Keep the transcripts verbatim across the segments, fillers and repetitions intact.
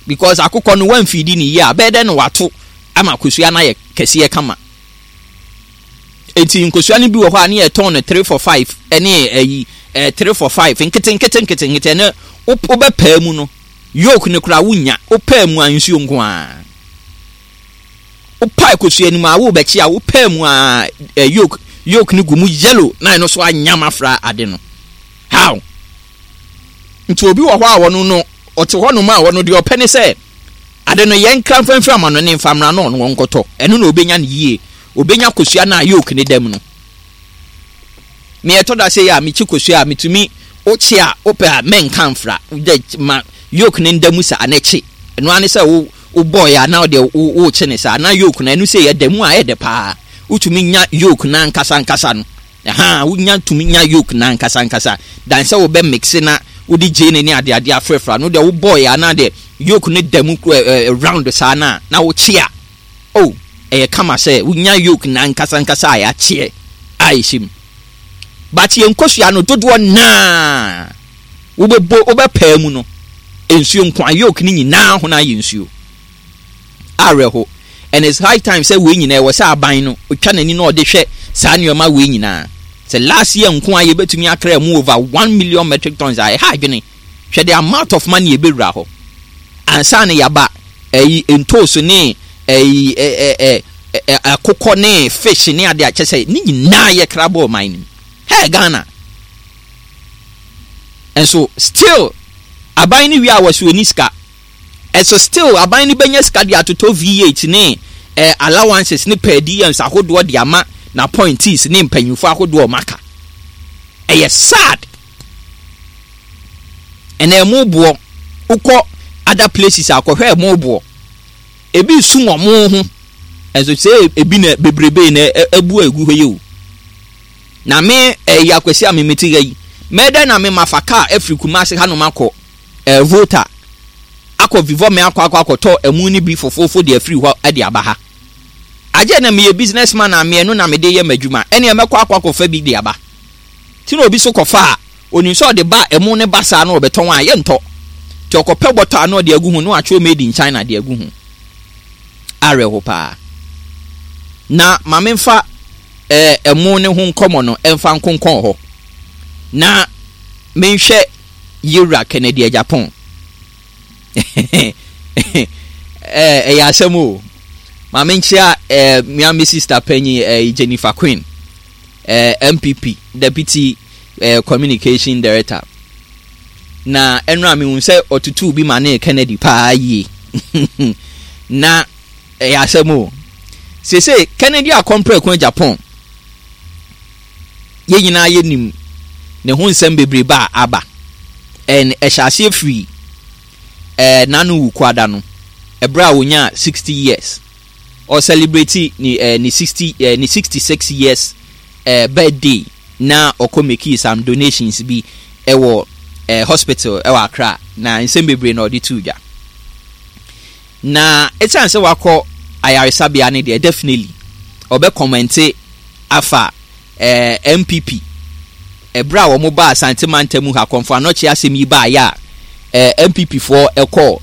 Because akokɔ no, wamfidi ne yie a, bɛyɛ dɛ na wato ama kosua no ayɛ kɛseɛ kama. Eti nkosua no bi wɔ hɔ a ne yɛtɔn no three for five, ɛne ɛyi ɛɛ three for five, nkete nkete nkete nkete. Ɛne wobɛpɛɛ mu no, yolk no koraa wonya. Wopɛɛ mu a, nsuo nko ara. Wopae kosua no mu a, wobɛkye a, wopɛɛ mu a, ɛ yolk yolk no gu mu yellow na ɛno so anyam afra ade no. How? Nti obi wɔ hɔ a, wɔno no ɔte hɔnom a, wɔno deɛ ɔpɛ ne sɛ ade no yɛn nkra mfamfiri ama no ne mfamra no, ɔno wɔnkɔtɔ ɛno na obɛnya no yie. Obɛnya kosua no a yolk ne dam no. Meɛtɔ da sɛ yɛ a, mekyi kosua a, metumi wokye a, wopɛ a mɛnka mfra dɛ ma yolk ne nda mu saa na kye. Ɛno ara ne sɛ wo wobɔɔyɛ a, na wode wokye ne saa na yolk no ɛno sɛ yɛda mu a, ɛyɛ dɛ paa. Wotumi nya yolk no ankasa ankasa no ɛha, wonya tumi nya yolk no ankasa ankasa dan sɛ wobɛ mix na wode gyeene ne adeade afrɛfra no deɛ. Wobɔɔyɛ a, na deɛ yolk no da mu ɛ round saa na na wokye a, oh, ɛyɛ kama sɛ wonya yolk no ankasa ankasa a yɛakyeɛ a ɛhyɛ mu. But yɛn nkosua no dodoɔ naa, wobɛbɔ, wobɛpɛɛ mu no, nsuo nko a. Yolk no nyinaa ho no ayɛ nsuo. Awerɛho, and it's high time sɛ wei nyinaa, ɛwɔ sɛ aban no otwa n'ani na ɔde hwɛ saa nneɛma wei nyinaa. Sɛ last year nko a, yɛbɛtumi akra mu over one million metric tons a, ɛha adwene. Hwɛ the amount of money ebɛwura hɔ ansa na yaba ɛyi ntooso ne ɛyi ɛ ɛ ɛ akokɔ ne fish ne ade a kyɛ sɛ ne nyinaa yɛ kra bɔɔ ɔman no mu. Hey, Ghana nso still aban no wie a, wɔsi oni sika. Ɛso still aban no bɛnya sika de atotɔ V eight ne eh, allowances ne per diems ahodoɔ de ama na appointees ne mpanyinfoɔ ahodoɔ ɔmo aka. Ɛyɛ sad. Ɛna ɛmo boɔ, wokɔ other places akɔhwɛ ɛmo boɔ, ebi sum ɔmo ho. Ɛnso sɛ ebi na bebrebe na ɛbu egu hɔ yi o. Na me ɛyɛ Akwasi a me te ha yi, mɛdɛ na me ma fa kaa afiri Kumase hanom akɔ ɛɛ Volta, akɔ Vivɔ, me akɔ akɔ akɔtɔ ɛmu no bi fofofo de afiri hɔ ɛde aba ha. Agye na meyɛ business man a, mmienu na mede yɛ m'adwuma, ɛnea mɛkɔ akɔ akɔfa bi de aba. Ti na obi so kɔfa a, onim sɛ ɔde ba ɛmu ne ba saa na ɔbɛtɔn a, yɛntɔ. Nti ɔkɔpɛ bɔtɔ a na ɔde agu ho na watwerɛ "Made in China" de agu ho. Awerɛho paa. Na maame nfa ɛɛ ɛmo ne ho nkɔmɔ no ɛmfa nkonkɔn hɔ na menhwɛ Yewura Kennedy Agyapong. ɛɛ ɛyɛ asɛm o. Maame nkyia ɛɛ mmea me sister panyin ɛɛ Jennifer Queen, ɛɛ N P P deputy ɛɛ communication director, na ɛnura mi hu sɛ ɔtutu bi ma ne Kennedy paa yie. Na ɛyɛ asɛm o. Sese Kennedy Akɔmprɛko Agyapong, yɛn nyinaa yɛnim ne ho nsɛm bebree ba a aba. Ɛn ɛhyɛ aseɛ firi ɛɛ nanu Wukuada no, ɛberɛ a wonya sixty years, ɔcelebrate ne ɛɛ ne sixty ɛɛ ne sixty six years ɛɛ birthday, na ɔkɔ make some donations bi ɛwɔ ɛɛ hospital ɛwɔ Accra. Na nsɛm bebree na ɔde tu dwa. Na ɛsiane sɛ wakɔ ayaresabea ne deɛ, definitely ɔbɛ comment afa ɛɛ N P P ɛberɛ a wɔn ba Asante mantam mu ha, Kɔmfo Anɔkye asɛm yi baayɛ a, ɛɛ N P P foɔ ɛkɔ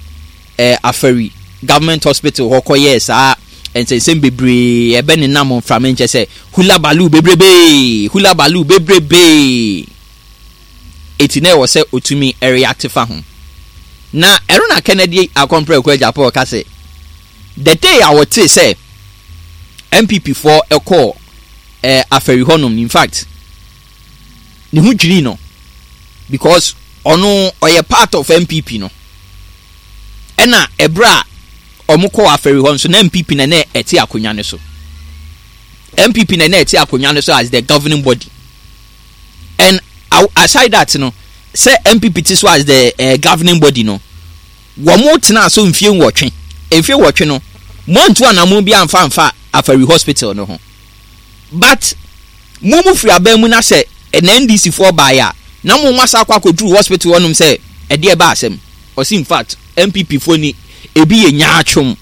ɛɛ Afari Government Hospital hɔ kɔyɛɛ saa nsɛnsɛm bebree ɛbɛ ne nam mframa nkyɛ sɛ hullabaloo bebrebee, hullabaloo bebrebee. Eti na ɛwɔ sɛ otumi ɛreact fa ho. Na ɛno na Kennedy Akɔmprɛko Agyapong ka sɛ the day a wɔte sɛ N P P foɔ ɛkɔɔ ɛɛ Afari hɔnom, in fact ne ho dwiri no, because ɔno ɔyɛ part of N P P no. Ɛna ɛberɛ a ɔmo kɔɔ Afari hɔ nso na N P P na na ɛte akonnwa no so. N P P na na ɛte akonnwa no so as the governing body. And aside that no, sɛ N P P te so as the uh, governing body no, wɔn tena so mfie nwɔtwe. Mfie nwɔtwe no, mo antu anamɔ bi amfa amfa Afari Hospital no ho. But mo mu firi aban mu na sɛ ɛna N D C foɔ baeɛ a, na mo asa akɔ akɔduru hospital hɔnom sɛ ɛdeɛ ɛba asɛm. Ɔsi in fact N P P foɔ ni ebi yɛ nyaatwom,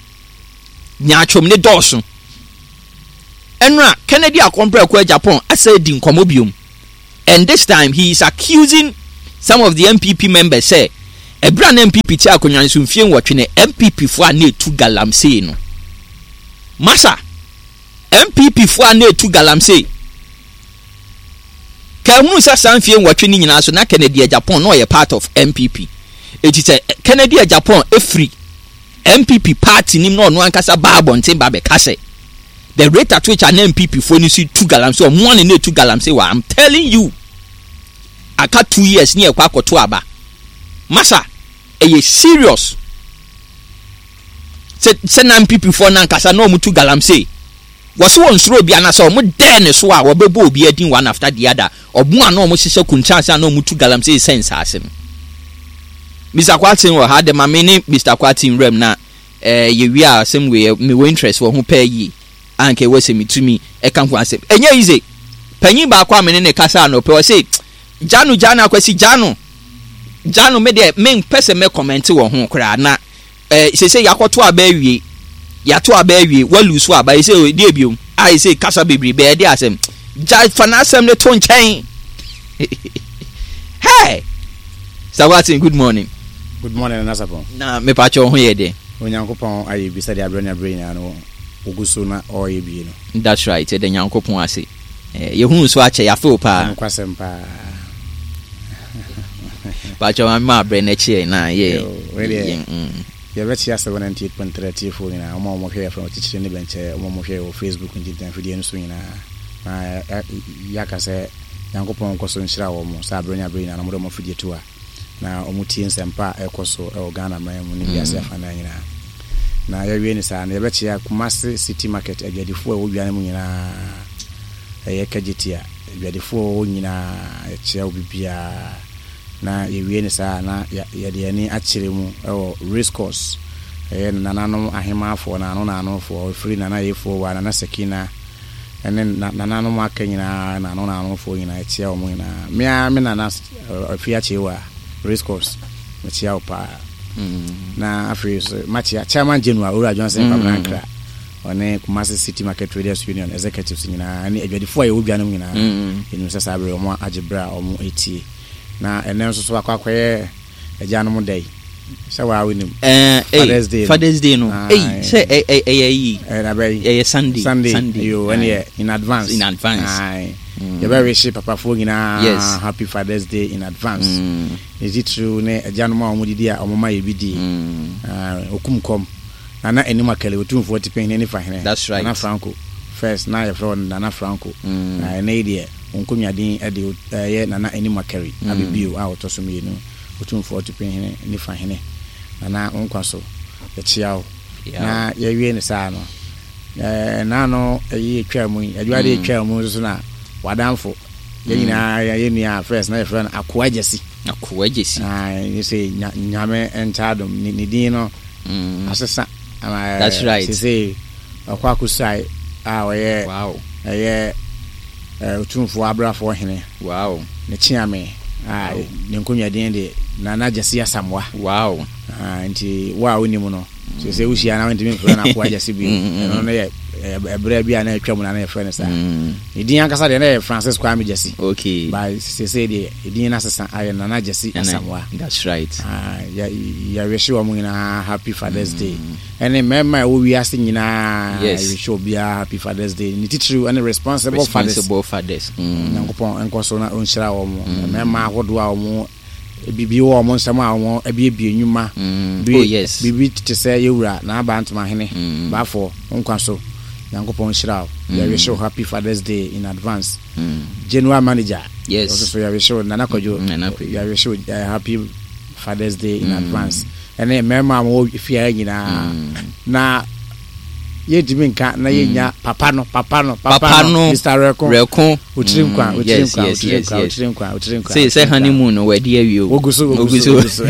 nyaatwom ne dɔɔso. Ɛnura Kennedy Akɔmprɛko Agyapong asa di nkɔmɔ biom, and this time he is accusing some of the N P P members sɛ Ɛberɛ a na N P P te akonnwa no so mfie nwɔtwe no, N P P foɔ a na ɛtu galamsey no, masa, N P P foɔ a na ɛtu galamsey, kɛhunu sɛ saa mfie nwɔtwe no nyinaa so na Kennedy Agyapong na ɔyɛ part of N P P. Eti sɛ Kennedy Agyapong efiri N P P party nim na ɔno ankasa ba abɔnten ba bɛka sɛ the rate at which a na N P P foɔ no si tu galamsey, ɔmo ane na etu galamsey wɔ, I'm telling you, aka two years ne yɛkɔ akɔto aba, masa, ɛyɛ serious sɛ sɛ na N P P foɔ no ankasa na ɔmo tu galamsey. Wɔsi wɔn nsoro obi anasɛ ɔmo dɛɛ ne so a wɔbɛbɔ obi adin one after the other. Ɔmo a na ɔmo hyehyɛ kunkyɛnse a na ɔmo tu galamsey sɛ nsaase no. Mister Kwaten wɔ ha de ma me ne Mister Kwaten nwuram na ɛɛ yɛwie a, asɛm wei mewɔ interest wɔ ho pɛɛ yie a nka ɛwɔ sɛ metumi ɛka ho asɛm. Ɛnyɛ easy. Panyin baako a me ne ne kasa anɔpɛ, ɔse gya no, gya no, Akwasi, gya no, gya no. Me deɛ mempɛ sɛ mɛ comment wɔ ho koraa na ɛɛ sese yɛakɔto aba awie, yɛato aba awie, walu so aba yɛsɛ deɛ biom a yɛsɛ kasa bebree bɛyɛ de asɛm gya fa n'asɛm ne to nkyɛn. Hey, Mister Watson, good morning. Good morning, Nana Sapon. Na mepakyɛ wo ho yɛ deɛ? Onyankopɔn ayɛ bi sɛdeɛ aberɛ ne aberɛ nyinaa no wogu so na ɔreyɛ bie no. That's right, ɛda Nyankopɔn ase. Eh, yɛhu nso akyɛ, yɛafe wo paa. Nokwasɛm paa. Pakyɛ ma ma aberɛ no akyi na yɛ. Wei deɛ yɛbɛkyia seven ninety-eight point three atiefoɔ nyinaa, ɔma a wɔhwɛ yɛ from akyikyiri ne bɛnkyɛ, ɔma a wɔhwɛ yɛ wɔ Facebook ntintanfidie no so nyinaa, na yɛaka sɛ Nyankopɔn nkɔ so nhyira wɔ mo sɛ aberɛ ne aberɛ nyinaa na wɔde wɔn afidie to a na wɔn tie nsɛmpa a ɛkɔ so ɛwɔ Ghana man mu ne wiase afanan nyinaa. Na yɛwie ne saa no, yɛbɛkyia Kumase City Market adwadifoɔ a ɛwɔ dwa no mu nyinaa, ɛyɛ Kejetia adwadifoɔ a ɛwɔ nyinaa, yɛkyia obi biara. Na yɛwie ne saa na yɛde ani akyerɛ mu ɛwɔ race course, ɛyɛ nananom ahemaafoɔ, naano naanofoɔ, ɛfiri Nana Yefoɔ wa Nana Sakina ɛne nananom aka nyinaa, naano naanofoɔ nyinaa, ɛkyia wɔn nyinaa. Mmea me nana afi akyewa race course, mekyia wo paa. Na afei so makyia Chairman General Owura Johnson Kwabena Nkra, ɔne Kumasi City Market Traders Union executives nyinaa ne adwadifoɔ a yɛwɔ dwa no mu nyinaa. Yɛnim sɛ saa bere wɔn agye berɛ a wɔn etie. Na ɛnɛ nso so akɔ akɔyɛ agyanom da yi sɛ waa wonim. Father's Day no, Father's Day no, ei, sɛ ɛyɛ yi ɛyɛ Sunday. Sunday yo, ɛne yɛ in advance. In advance. Yɛbɛwehye papafoɔ nyinaa, yes, happy Father's Day in advance. Ne titiriw ne agyanom a wɔn didi a wɔn ma yɛ bi di okum kɔm, Nana Anim Akɛlɛ, Otumfoɔ Tipɛnhene ne Fahene. That's right. Nana Franco first na yɛfrɛ wɔn Nana Franco, na ɛnɛ yi deɛ wɔn nkonnwaden de ɛyɛ Nana Anim Akɛre Abibio a ɔtɔ so mmienu, Otumfoɔ Tipɛnhene ne Fahene. Nana, wɔn nkwa so, yɛkyia wo. Na yɛwie ne saa no, ɛɛ naano ɛyi etwa mu yi, adwuma de etwa mu nso so na wadanfo yɛn nyinaa, yɛn nua first na yɛfrɛ no Akoa Gyasi. Akoa Gyasi. Aa sɛ Nyame nkyɛn ne ne din no asesa. That's right. Sese ɔkɔ akosae a ɔyɛ wow ɛyɛ Otumfoɔ Abrafoɔ hene. Wow ne kyeame a ne nkonnwa din de Nana Gyasi Asamoah. Wow nti wo a wonim no sɛ wohyia na wontumi mfrɛ no Akoa Gyasi bio. Ɛno no yɛ ɛberɛ bi a na atwa mu na na yɛfrɛ no saa. Ne din ankasa deɛ na yɛ Francis Kwame Gyasi. Okay ba sesei deɛ ɛdin no asesa ayɛ Nana Gyasi Asamoah. That's right. Yɛwehye wɔ mo nyinaa happy Father's Day, ɛne mmarima a ɛwɔ wiase nyinaa. Yɛwehye obiara happy Father's Day, ne titiriw ɛne responsible fathers. Responsible fathers. Nyankopɔn nkɔ so na ɔnhyira wɔ mo mmarima ahodoɔ a wɔn biribi wɔ wɔn nsɛm a wɔn abiebie nnwuma bi. Oh, yes. Biribi te sɛ yɛwura n'aba Ntomahene baafoɔ nkwa so, Nyankopɔn nhyira wo. Yɛwehye wo happy Father's Day in advance. General Manager, yes ɔso so yɛwehye wo, Nana Kwadwo. Nana Kwadwo. Yɛwehye wo uh, happy Father's Day in advance, ɛne mmarima a wɔwɔ fie ha nyinaa. Na yɛntumi nka na yɛnya papa no, papa no, papa no. Mister Rɛko. Rɛko. Otiri nkwa, otiri nkwa, otiri nkwa, otiri nkwa, otiri nkwa. Sɛ sɛ honeymoon no wɔadi awie o. Wogu so, wogu so, wogu so.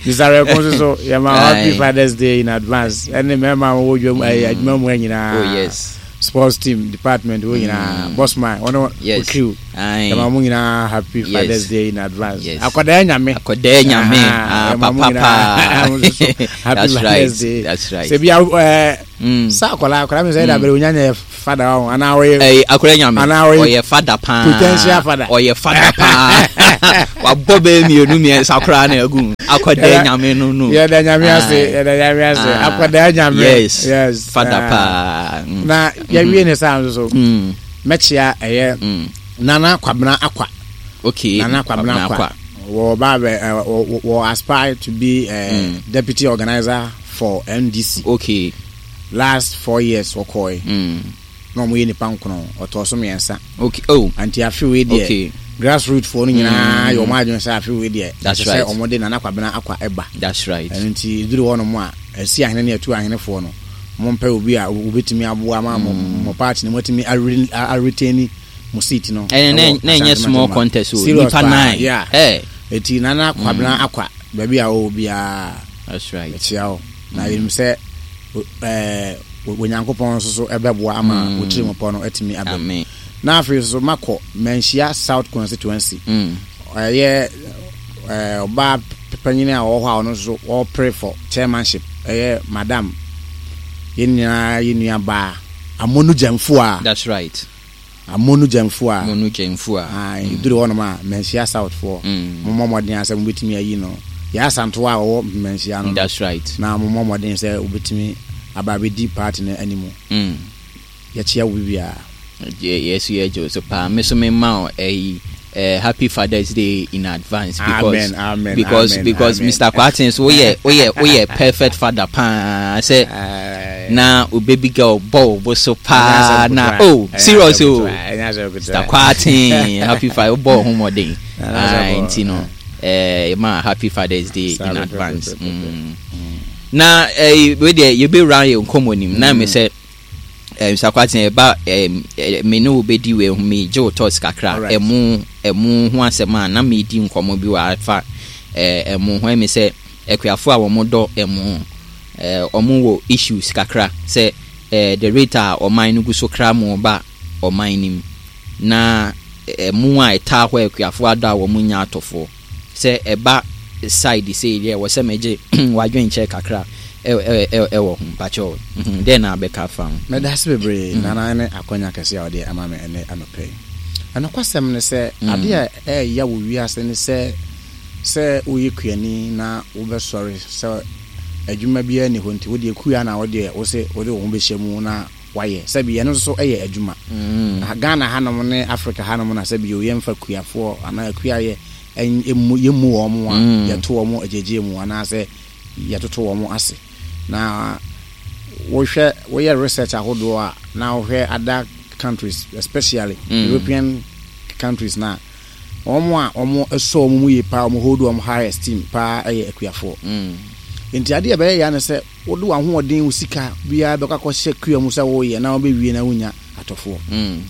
Mister Rɛko nso so yɛma happy Father's Day in advance, ɛne mmarima a wɔwɔ dwam ɛyɛ adwuma mu nyinaa. Oh yes. Sports team department wo nyinaa, bossman wɔn yes crew, yɛma mo nyinaa happy Father's Day in advance. Yes. Akwadaa Nyame. Akwadaa Nyame. Ah, papa paa. Happy That's Father's right. Day. That's right. Sɛ bia ɛɛ Mm. sɛ akwadaa akwadaa mi sɛ ɛda abɛrɛ onya nyɛ Father wɔn anaa ɔyɛ Ɛyɛ Akwadaa Nyame. Anaa ɔyɛ Ɔyɛ father paa. Potential father. Ɔyɛ father paa. Wabɔ bɛyɛ mmienu mmiɛnsa koraa na agu. Akwadaa Nyame no no. Yɛda Nyame ase. Aye. Yɛda Nyame ase. Ah. Akwadaa Nyame. Yes. Yes. Father Ah. paa. Mm. Na yɛwie ne saa nso so, Mm. mɛkyia ɛyɛ Mm. Nana Kwabena Akwa. Okay. Nana Kwabena Akwa wɔ ba bɛ ɛ wɔ wɔ aspire to be uh, Mm. deputy organizer for N D C. Okay. Last four years wɔkɔɛ Mm. na wɔn yɛ nipa nkono, ɔtɔ so mmiɛnsa. Okay. Oh. Nti afe wei deɛ, Okay. grassroots foɔ no nyinaa yɛ wɔn adwene sɛ afe wei deɛ, That's ɛsɛ sɛ right. wɔn de Nana Kwabena Akwa ɛba. That's right. Ɛno nti duru hɔ nom a ɛsi ahene ne ɛtu ahenefoɔ no, mo mpɛ obi a wobɛtumi aboa ma mo mo party no moatumi are- a- retain mo seat no. Ɛnɛ ɛwɔ na ɛnyɛ Asante small Mantam. contest o. Serious Nipa paa, nine. yeah. Hey. Eti Nana Kwabena Akwa, baabi a wɔwɔ biara, That's right. ɛkyia wo na yɛnim sɛ ɛɛ Onyankopɔn nso so ɛbɛboa ama Mm. wo tiri mu pɔ no atumi aba mu. Amen. Na afei nso makɔ Manhyia South Constituency. Mm. Ɛyɛ ɛɛ ɔbaa panyin a ɔwɔ hɔ a ɔno nso ɔpere for chairmanship, ɛyɛ Madam, yɛn nyinaa yɛn nua baa Amonu Gyamfo a. That's right. Amonu Gyamfo a. Monu Gyamfo a. Aa, duru hɔnom a Manhyia South foɔ, Mm. mommɔ mmɔden asɛ mobɛtumi ayi no yɛ Asantoa a ɔwɔ Manhyia no. That's right. Na mommɔ mmɔden sɛ wobɛtumi aba abɛdi party no anim. Mm. Yɛkyia wo bibiara. Yɛso yɛgye wo so paa. Me so mema wo ɛyi uh, happy Father's Day in advance because Amen, amen, because amen, because amen. Mister Kwarteng so woyɛ woyɛ woyɛ perfect father paa sɛ na o baby girl bɔ wo bo so paa na, oh, serious o. Mister Kwarteng, happy father, wobɔ wo ho mmɔden. Ah, nti no eh, ma happy Father's Day in advance. mm. na eh, wei deɛ yɛbɛwura yɛ nkɔmmɔ nim na me sɛ eh, Mister Kwarteng, ɛba eh, eh, me ne wo bɛdi wei ho, megye wo thoughts kakra. Alright. Ɛmo ɛmo ho asɛm a na medi nkɔmmɔ bi wɔ afa eh, ɛmo ho, ɛmi sɛ akuafoɔ a wɔn dɔ ɛmo eh, wɔn wɔ issues kakra sɛ eh, the rate a ɔman no gu so kra mo ba ɔman no mu na ɛmo a ɛtaa hɔ a akuafoɔ adɔ a wɔn nya atɔfoɔ sɛ ɛba side sei deɛ, wɔ sɛ megye wadwenkyɛ kakra ɛ- ɛ- ɛ- ɛwɔ ho mpakyɛw. Mhm, dɛn na abɛka fa ho? Mɛda ase bebree, Nana, ne akwanya kɛse a ɔde ama me ɛnɛ anɔpɛ yi. Ɛnokwasɛm ne sɛ adeɛ a ɛɛya wɔ wiase ne sɛ sɛ woyɛ kuani na wobɛsɔre sɛ adwuma biara ni hɔ, nti wodeɛ kua na wodeɛ wo se wode wo ho bɛhyɛ mu na wayɛ sɛbi, ɛno nso so ɛyɛ adwuma. Mm. Na Ghana hanom ne Africa hanom na sɛbi o, yɛmfa kuafoɔ anaa kuayɛ ɛn- ɛmmu yɛmmu wɔn mo a Mm. yɛto wɔn mo agyegye mu anaasɛ yɛtoto wɔn mo ase. Na wohwɛ, woyɛ research ahodoɔ a, na wohwɛ other countries, especially Mm. European countries, na wɔn a wɔn sɔ wɔn mu yie paa, wɔn hold wɔn high esteem paa, ɛyɛ akuafoɔ. Mm. Nti adeɛ a ɛbɛyɛ ya ne sɛ wode w'ahoɔden, wo sika biara bɛkɔ akɔhyɛ kua mu sɛ woyɛ na wobɛwie na wonya atɔfoɔ. Mm.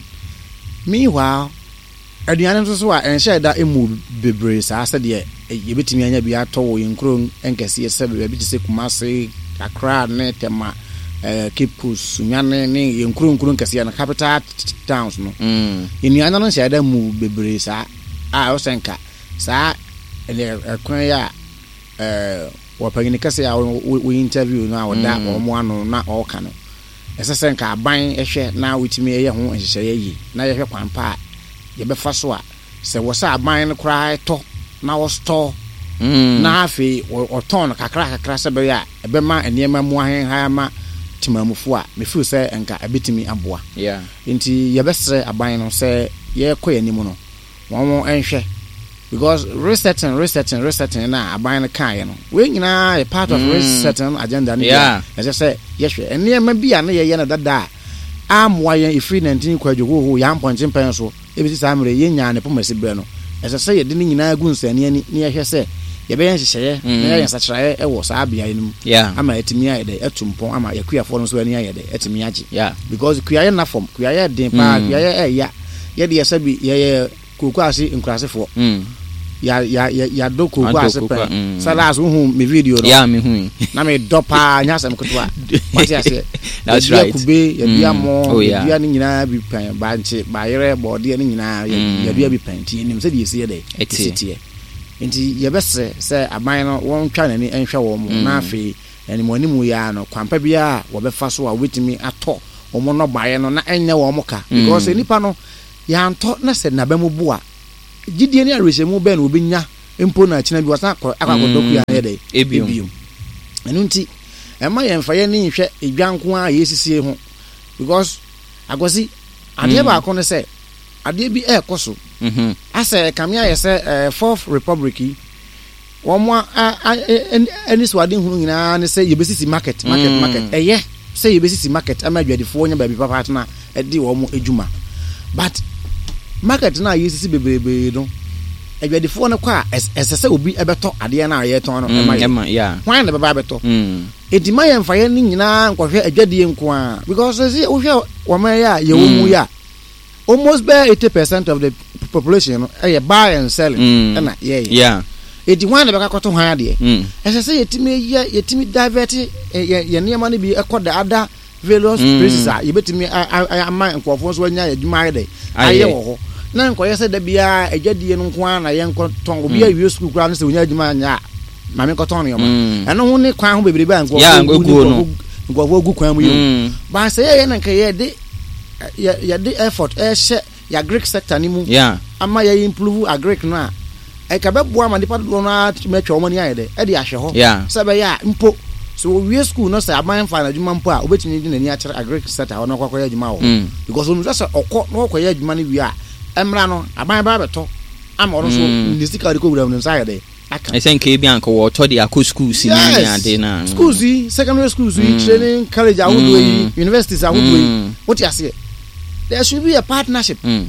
Meanwhile, aduane nso so a ɛnhyɛ da emu bebree saa sɛdeɛ yɛbɛtumi anya bi atɔ wɔ yɛn nkuro nkɛseɛ sɛ baabi te sɛ Kumase, Accra ne Tema, ɛɛ Cape Coast, Sunyani ne yɛn nkuro nkuro nkɛseɛ no, capital towns no. Mm. Nnuane no nhyɛ da mu bebree saa a ɛwɔ sɛ nka saa ɛnɛ ɛkwan yi a ɛɛ wɔpanyin kɛse a wɔyi interview no a wɔda Mm. wɔn ano na ɔreka no, ɛsɛ sɛ nka aban hwɛ na wotumi yɛ ho nhyehyɛeɛ yie na yɛhwɛ kwan pa a yɛbɛfa so a sɛ wɔ sɛ aban no koraa tɔ na wɔstɔ Mm. na afei wɔ- ɔtɔn no kakra kakra sɛ bɛyɛ a ɛbɛma nneɛma mu ahenhan ama temamufoɔ a mefeel sɛ nka ɛbɛtumi aboa. Yeah. Nti yɛbɛsrɛ aban no sɛ yɛkɔ yɛn anim no, wɔn nhwɛ, because resetting, resetting, resetting na aban no kaeɛ no, wei nyinaa yɛ part of Mm. resetting agenda no bi a Yeah. ɛsɛ sɛ yɛhwɛ nneɛma bi a ne yɛyɛ no dada a amoa yɛn ɛfiri nineteen kwadwo hoho yɛn ampɔnkye mpɛn so ɛbɛsi saa mmerɛ yɛnyaa ne pɔmasi berɛ no. Ɛsɛ sɛ yɛde ne nyinaa gu nsani ani na yɛhwɛ sɛ yɛbɛyɛ nhyehyɛeɛ Mm. na yɛyɛ nsakyeraeɛ ɛwɔ saa beaeɛ no mu Yeah. ama ɛtumi ayɛ dɛ ɛtu mpɔn ama yɛkuafoɔ no nso ani ayɛ dɛ ɛtumi agye, Yeah. because kuayɛ nna fam, kuayɛ den paa. Mm. Kuayɛ ɛɛya. Yɛde yɛ sɛbi yɛyɛ kooko ase nkurasefoɔ. Mm. Ya ya ya yɛadɔ kooko Adɔ ase kooko, pɛn mm. sɛ last wohu me video no. Yeah, me hu. Na medɔ paa, nyɛ asɛm ketewa, wate aseɛ? That's Yɛdua right. kube, yɛdua Mm. mɔ, Oh, yeah. yɛdua ne nyinaa bi pɛn, bankye, bayerɛ, bɔɔdeɛ ne nyinaa yɛ- Mm. yɛdua bi pɛn, nti yɛnim sɛdeɛ yɛsi yɛ dɛ Ɛteɛ. yɛsi teɛ. Nti yɛbɛsrɛ sɛ aban no wɔntwa n'ani nhwɛ wɔn mo Mm. na afei animuanimu yi ara no, kwampa biara a wɔbɛfa so a wɔbɛtumi atɔ Wɔn nnɔbaeɛ no na ɛnyɛ wɔn ka, because nipa no yɛantɔ na sɛ n'aba mu bu a, gyidie ne awerɛhyɛmu bɛn na obɛnya mpo na akyina bi wasan akɔ akɔ akɔdɔ kua no yɛ dɛ Ebiom. Ebiom. Ɛno nti ɛma yɛmfa yɛn ani nhwɛ edwa nko ara a yɛsisie ho, because Akwasi, adeɛ baako ne sɛ adeɛ bi ɛrekɔ so Mhm. asɛ kame ayɛ sɛ ɛɛ Fourth Republic yi, wɔn a a ɛne so ade hunu nyinaa ne sɛ yɛbɛsisi market, market, Mm. market. Ɛyɛ sɛ yɛbɛsisi market ama adwadifoɔ nya baabi papa atena ɛde wɔn adwuma, but market no a yɛsisi bebree no, adwadifoɔ no kɔ a, ɛs- ɛsɛ sɛ obi ɛbɛtɔ adeɛ no a yɛtɔn no ɛma Mm, yɛ. Ɛma, yeah. Hwan na bɛba abɛtɔ? Mm. Eti ma yɛn fa yɛn ne nyinaa nkɔhwɛ adwadie nko a, because sɛ wohwɛ wɔn yɛ a yɛwɔ mu yi a, almost bɛyɛ eighty percent of the population no ɛyɛ buy and selling Mm. ɛna yɛyɛ. Yeah. Eti hwan na bɛka kɔtɔ hwan adeɛ? Mm. Ɛsɛ sɛ yɛtumi yɛ, yɛtumi divert ɛ, yɛ yɛ nneɛma no bi ɛkɔ the other various Mm. places a yɛbɛtumi a- a- a- ama nkurɔfoɔ nso anya adwuma ayɛ dɛ Ayɛ. ayɛ wɔ hɔ, na nkɔyɛ sɛ da biara adwadie no nko ara na yɛnkɔ tɔn. Obi awie sukuu koraa no, sɛ onya adwuma anyɛ a, maame nkɔtɔn nneɛma. Mm. Ɛno ho ne kwan ho bebrebe a Yeah, nkurɔfoɔ gu ne gu no. nkurɔfoɔ nkurɔfoɔ gu kwan mu yi o. Mm. Baasa yɛyɛ na nka yɛde yɛ yɛde effort ɛhyɛ yɛ agric sector ne mu Yeah. ama yɛ improve agric no a, ɛka bɛboa ma nipa dodoɔ no ara tumi atwa wɔn ani ayɛ dɛ ɛde ahwɛ hɔ Yeah. sɛ ɛbɛyɛ a mpo sɛ wɔwie school no, sɛ aban fa n'adwuma mpo a, wobɛtumi de n'ani akyerɛ agric sector hɔ na ɔkɔ akɔyɛ adwuma wɔ hɔ, Mm. because wɔn sɛ ɔkɔ na ɔkɔyɛ adwuma no wie a, ɛmra no aban ba abɛtɔ ama ɔno nso Mm. ne sika a ɔde kɔ wura mu no nsa ayɛ dɛ aka. Ɛsɛ nka ebi anka wɔtɔ de akɔ school si ne ne ade na. Schools yi, secondary schools yi, Mm. training college ahodoɔ yi, Mm. universities ahodoɔ yi, Mm. wote aseɛ, there should be a partnership Mm.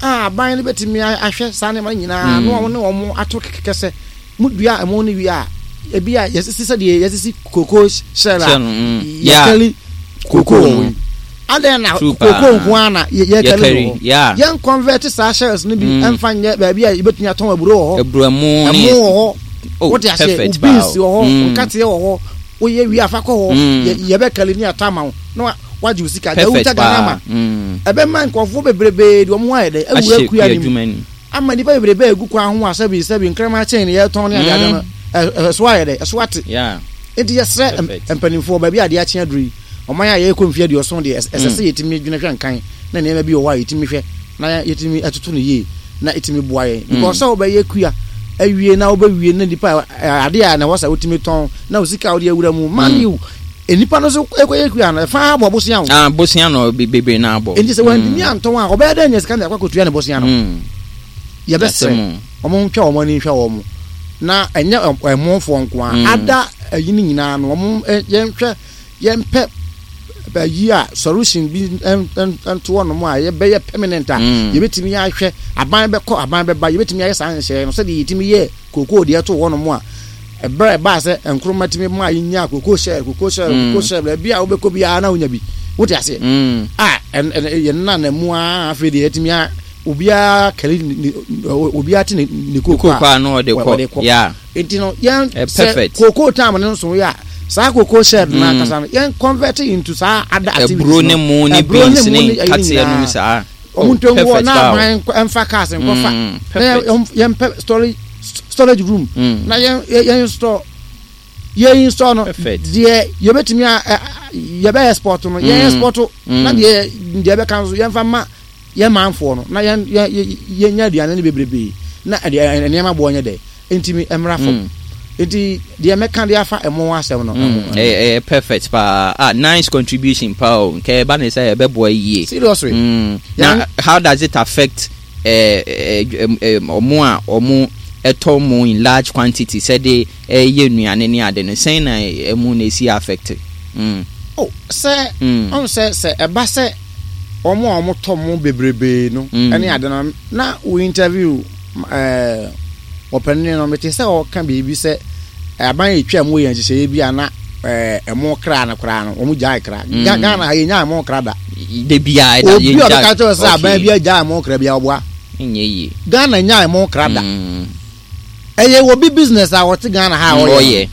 a aban no bɛtumi ahwɛ saa nneɛma no nyinaa Mm. na wɔn ne wɔn ato kɛkɛ sɛ mudua ɛmo no wie a, ebi a yɛsisi sɛdeɛ yɛsisi cocoa shell a Shell no, mm. Yeah. yɛkɛli cocoa Cocoa wɔ no. yi adan na True cocoa paa. nko ara na yɛ- yɛkɛli Yɛkɛri, wɔ hɔ. yeah. Yɛn convert saa shells no bi Mm. ɛmfa nyɛ baabi a yɛbɛtumi atɔn aburo wɔ hɔ, Aburo ɛmo ne ɛmo wɔ hɔ. Oh, Wote aseɛ, perfect wo beans paa o. wɔ hɔ, Mm. nkateɛ wɔ hɔ, woyɛ wie afa kɔ hɔ, Mm. yɛ- yɛbɛkɛli ne atɔ ama wo na wa- wagye wo sika. Perfect Dawuta paa. Ghana Mm. ɛbɛma nkurɔfoɔ bebrebe de wɔn ho ayɛ dɛ awura Ahyɛ kua kua no mu adwuma ni. ama nipa bebrebe a egu kwan ho a sɛbi sɛbi nkraman kyɛn ne yɛtɔn ne adeade no, ɛ- ɛ- ɛso ayɛ dɛ, ɛso ate. Yeah. Nti yɛsrɛ m- Perfect. mpanimfoɔ, baabi a adeɛ akye aduru yi, ɔman a yɛrekɔ mfeɛ aduɔson deɛ, ɛsɛ ɛsɛ Mm. sɛ yɛtumi dwene hwɛ nkan na nneɛma bi wɔ hɔ a yɛtumi hwɛ na yɛtumi ɛtoto no yie na ɛtumi boa yɛn, because sɛ wobɛyɛ kua awie na wobɛwie na nipa ɛ, adeɛ a na ɛwɔ sɛ wotumi tɔn na wo sika a wode awura mu man Mm. you nipa no so ɛkɔyɛ kua no, ɛfa abɔ bosea wo. Ah, bosea no be- bebree na abɔ. Nti sɛ wantumi antɔn a, ɔbɛyɛ dɛ nya sika na ɛkɔ akɔtua ne bosea no? Mm. Yɛbɛsrɛ Asɛm ɔmo ntwa wɔn ani nhwɛ wɔn na ɛnyɛ ɛ- ɛmofoɔ nko a, Mm. ada ayi no nyinaa no, ɔmo ɛ- yɛnhwɛ, yɛmpɛ ayi a solution bi ɛn- ɛn- ɛnto hɔnom a yɛbɛyɛ permanent a Mm. yɛbɛtumi ahwɛ. Aban bɛkɔ, aban bɛba, yɛbɛtumi ayɛ saa nhyehyɛeɛ no sɛdeɛ yɛtumi yɛ kookoo deɛ ɛto hɔnom a ɛberɛ a ɛbaa sɛ Nkrumah tumi maa yɛnya cocoa shell, cocoa shell, Mm. cocoa shell, baabi a wobɛkɔ biara na wonya bi, wote aseɛ? Mm. A ɛn ɛn yɛn nana mu a, afei deɛ yɛtumi a obiara kɛli ne ne obiara te ne ne kooko Kooko a na ɔde wɔ- wɔde kɔ. kɔ. Yeah. Nti no yɛn Eh, sɛ perfect. kooko time no nso yɛ a, saa cocoa shed no Mm. ankasa no, yɛn convert into saa other activities Aburo no. ne mu ne Aburo beans mu ne ayi nkateɛ nom nyinaa. saa. Ɔmo Oh, ntɔngu hɔ perfect na paa o. aban nkɔ- ɛmfa cars nkɔfa Mm, na perfect. yɛn yɛmpɛ storage storage room Mm. na yɛn yɛn yɛn store, yɛn install no. Perfect. Deɛ yɛbɛtumi a ɛ- ɛ- yɛbɛ export no, yɛn Mm. export na Mm. deɛ deɛ ɛbɛka nso yɛmfa ma yɛn manfoɔ no na yɛn yɛn yɛnya aduane no bebrebe na ɛdeɛ ɛ- nneɛma boɔ nyɛ dɛ ntumi mmra fam. Mm. Nti deɛ mɛka de afa ɛmo asɛm no Mm. ɛho- Ɛyɛ ɛyɛ perfect paa. Ah, nice contribution paa o. Nka ɛba ne sɛ ɛbɛboa yie. Seriously. Mm. Na how does it affect eh, eh, eh, ɔmo a ɔmo ɛtɔ mo in large quantity sɛde ɛyɛ nnuane ne ade no, sɛn na ɛmu na esi affect? Mm. Oh, sɛ Mm. ɔn sɛ sɛ ɛba sɛ ɔmo a ɔmo tɔ mo bebrebe no Mm. ɛne ade no na wo interview ɛɛ ɔpanin no, mete sɛ ɔka biribi sɛ aban yɛ twa mu yɛ nhyehyɛeɛ bi a na ɛɛ ɛmo kra no koraa no, ɔmo gyae kra. Mm. Ga- Ghana ha yɛnya ɛmo kra da. De bia ɛda Obi a ɔbɛka kyerɛ sɛ aban Okay. bi agya ɛmo kra bi a, ɔboa. Nyɛ yie. Ghana nya ɛmo kra da. Mm. Ɛyɛ obi business a wɔte Ghana ha a ɔyɛ. Ɔyɛ.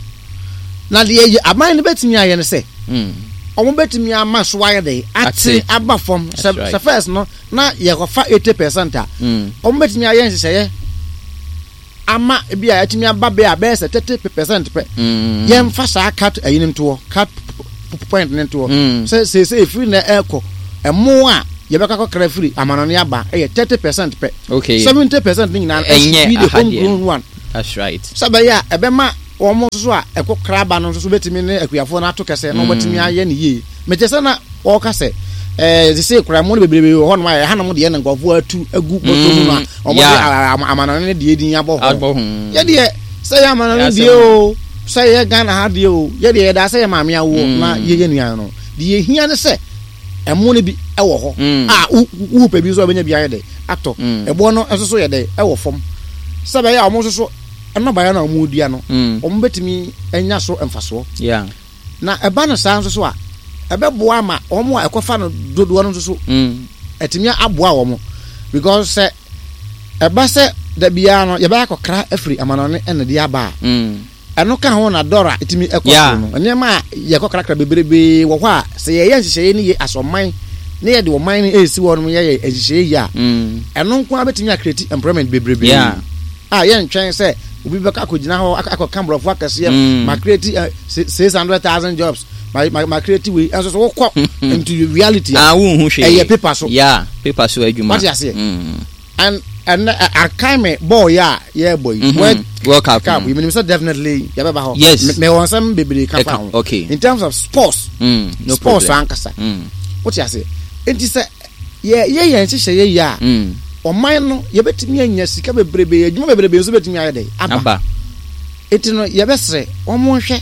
Na deɛ yɛ aban no bɛtumi ayɛ no sɛ Mm. ɔmo bɛtumi ama so ayɛ dɛ ate Ate. aba fam sɛ That's right. sɛ first no na yɛkɔfa eighty percent a, Mm. ɔmo bɛtumi ayɛ nhyehyɛeɛ ama ebi a yɛtumi aba bɛɛ a bɛyɛ sɛ thirty percent pɛ. Mm. Yɛmfa saa cut ayi no ntoɔ, cut p- p- point no ntoɔ Mm. sɛ seesei efiri na ɛɛkɔ Ɛmo a yɛbɛka kɔkra firi amanɔne aba ɛyɛ thirty percent pɛ. Okay. Seventy percent ne nyinaa ɛnyɛ be the home ahadeɛ. grown one. That's right. Sɛ bɛyɛ a ɛbɛma wɔn nso so a ɛkɔ kra aba no nso so bɛtumi ne akuafoɔ no ato kɛsɛ na wɔbɛtumi ayɛ ne yie. Mɛkyɛ sɛ na wɔka sɛ ɛɛ sese kura mu no bebrebe wɔ hɔnom a ɛhanom deɛ na nkurɔfoɔ atu agu bɔtɔ mu no a wɔn de Yeah. amanɔne ne deɛ din abɔ hɔ. Abɔ ho. Yɛdeɛ sɛ yɛ amanɔne Yɛ deɛ asɛm. o, sɛ yɛ Ghana ha deɛ o, yɛdeɛ yɛda sɛ yɛ maame awoɔ na yɛyɛ nua no deɛ, yɛhia ne sɛ ɛmo no bi ɛwɔ hɔ Mm. a wo wo pɛ bi nso a wobɛnya bi ayɛ dɛ atɔ. Mm. Ɛboɔ no nso so yɛ dɛ ɛwɔ fam sɛ bɛyɛ a ɔmo nso so nnɔbaeɛ no a ɔmo dua no, Mm. ɔmo bɛtumi anya so mfasoɔ. Yeah. Na ɛba no saa nso so a, ɛbɛboa ama ɔmo a ɛkɔfa no dodoɔ no nso so Mm. ɛtumi aboa wɔn, because sɛ ɛba sɛ da biara no yɛbɛyɛ akɔkra afiri amanɔne ɛna de aba a, Mm. ɛno ka ho na dɔra ɛtumi ɛkɔ Yeah. soro no. Nneɛma a yɛkɔkrakra bebrebe wɔ hɔ a, sɛ yɛyɛ nhyehyɛeɛ no yie asɛ ɔman ne yɛde ɔman no ɛsi hɔ nom, yɛyɛ nhyehyɛeɛ yie a, Mm. ɛno nko ara bɛtumi acreate employment bebrebe Yeah. a yɛntwɛn sɛ obi bɛkɔ akɔgyina hɔ akɔ- akɔka borɔfo akɛseɛ Mm. ma create six hundred thousand jobs, ma ma ma create wei. Ɛnso so wokɔ into reality a, Ah, wonhu hwee. ɛyɛ paper so. Yeah, paper so adwuma. Wate aseɛ? Mm. And ɛnɛ akan me bɔɔl yɛ a yɛrebɔ yi, Mhm. World World Cup. Cup mm. yi, menim sɛ definitely yɛbɛba hɔ. Yes. Me- mewɔ nsɛm bebree ka fa Ɛka- ho okay. in terms of sports. Mm. No Sports problem. ankasa, Mm. wote aseɛ? Nti sɛ yɛ yɛ yɛn nhyehyɛeɛ yi a, Mm. ɔman no yɛbɛtumi anya sika bebrebe, adwuma bebrebe nso bɛtumi ayɛ dɛ aba. Aba. Eti no yɛbɛsrɛ wɔn nhwɛ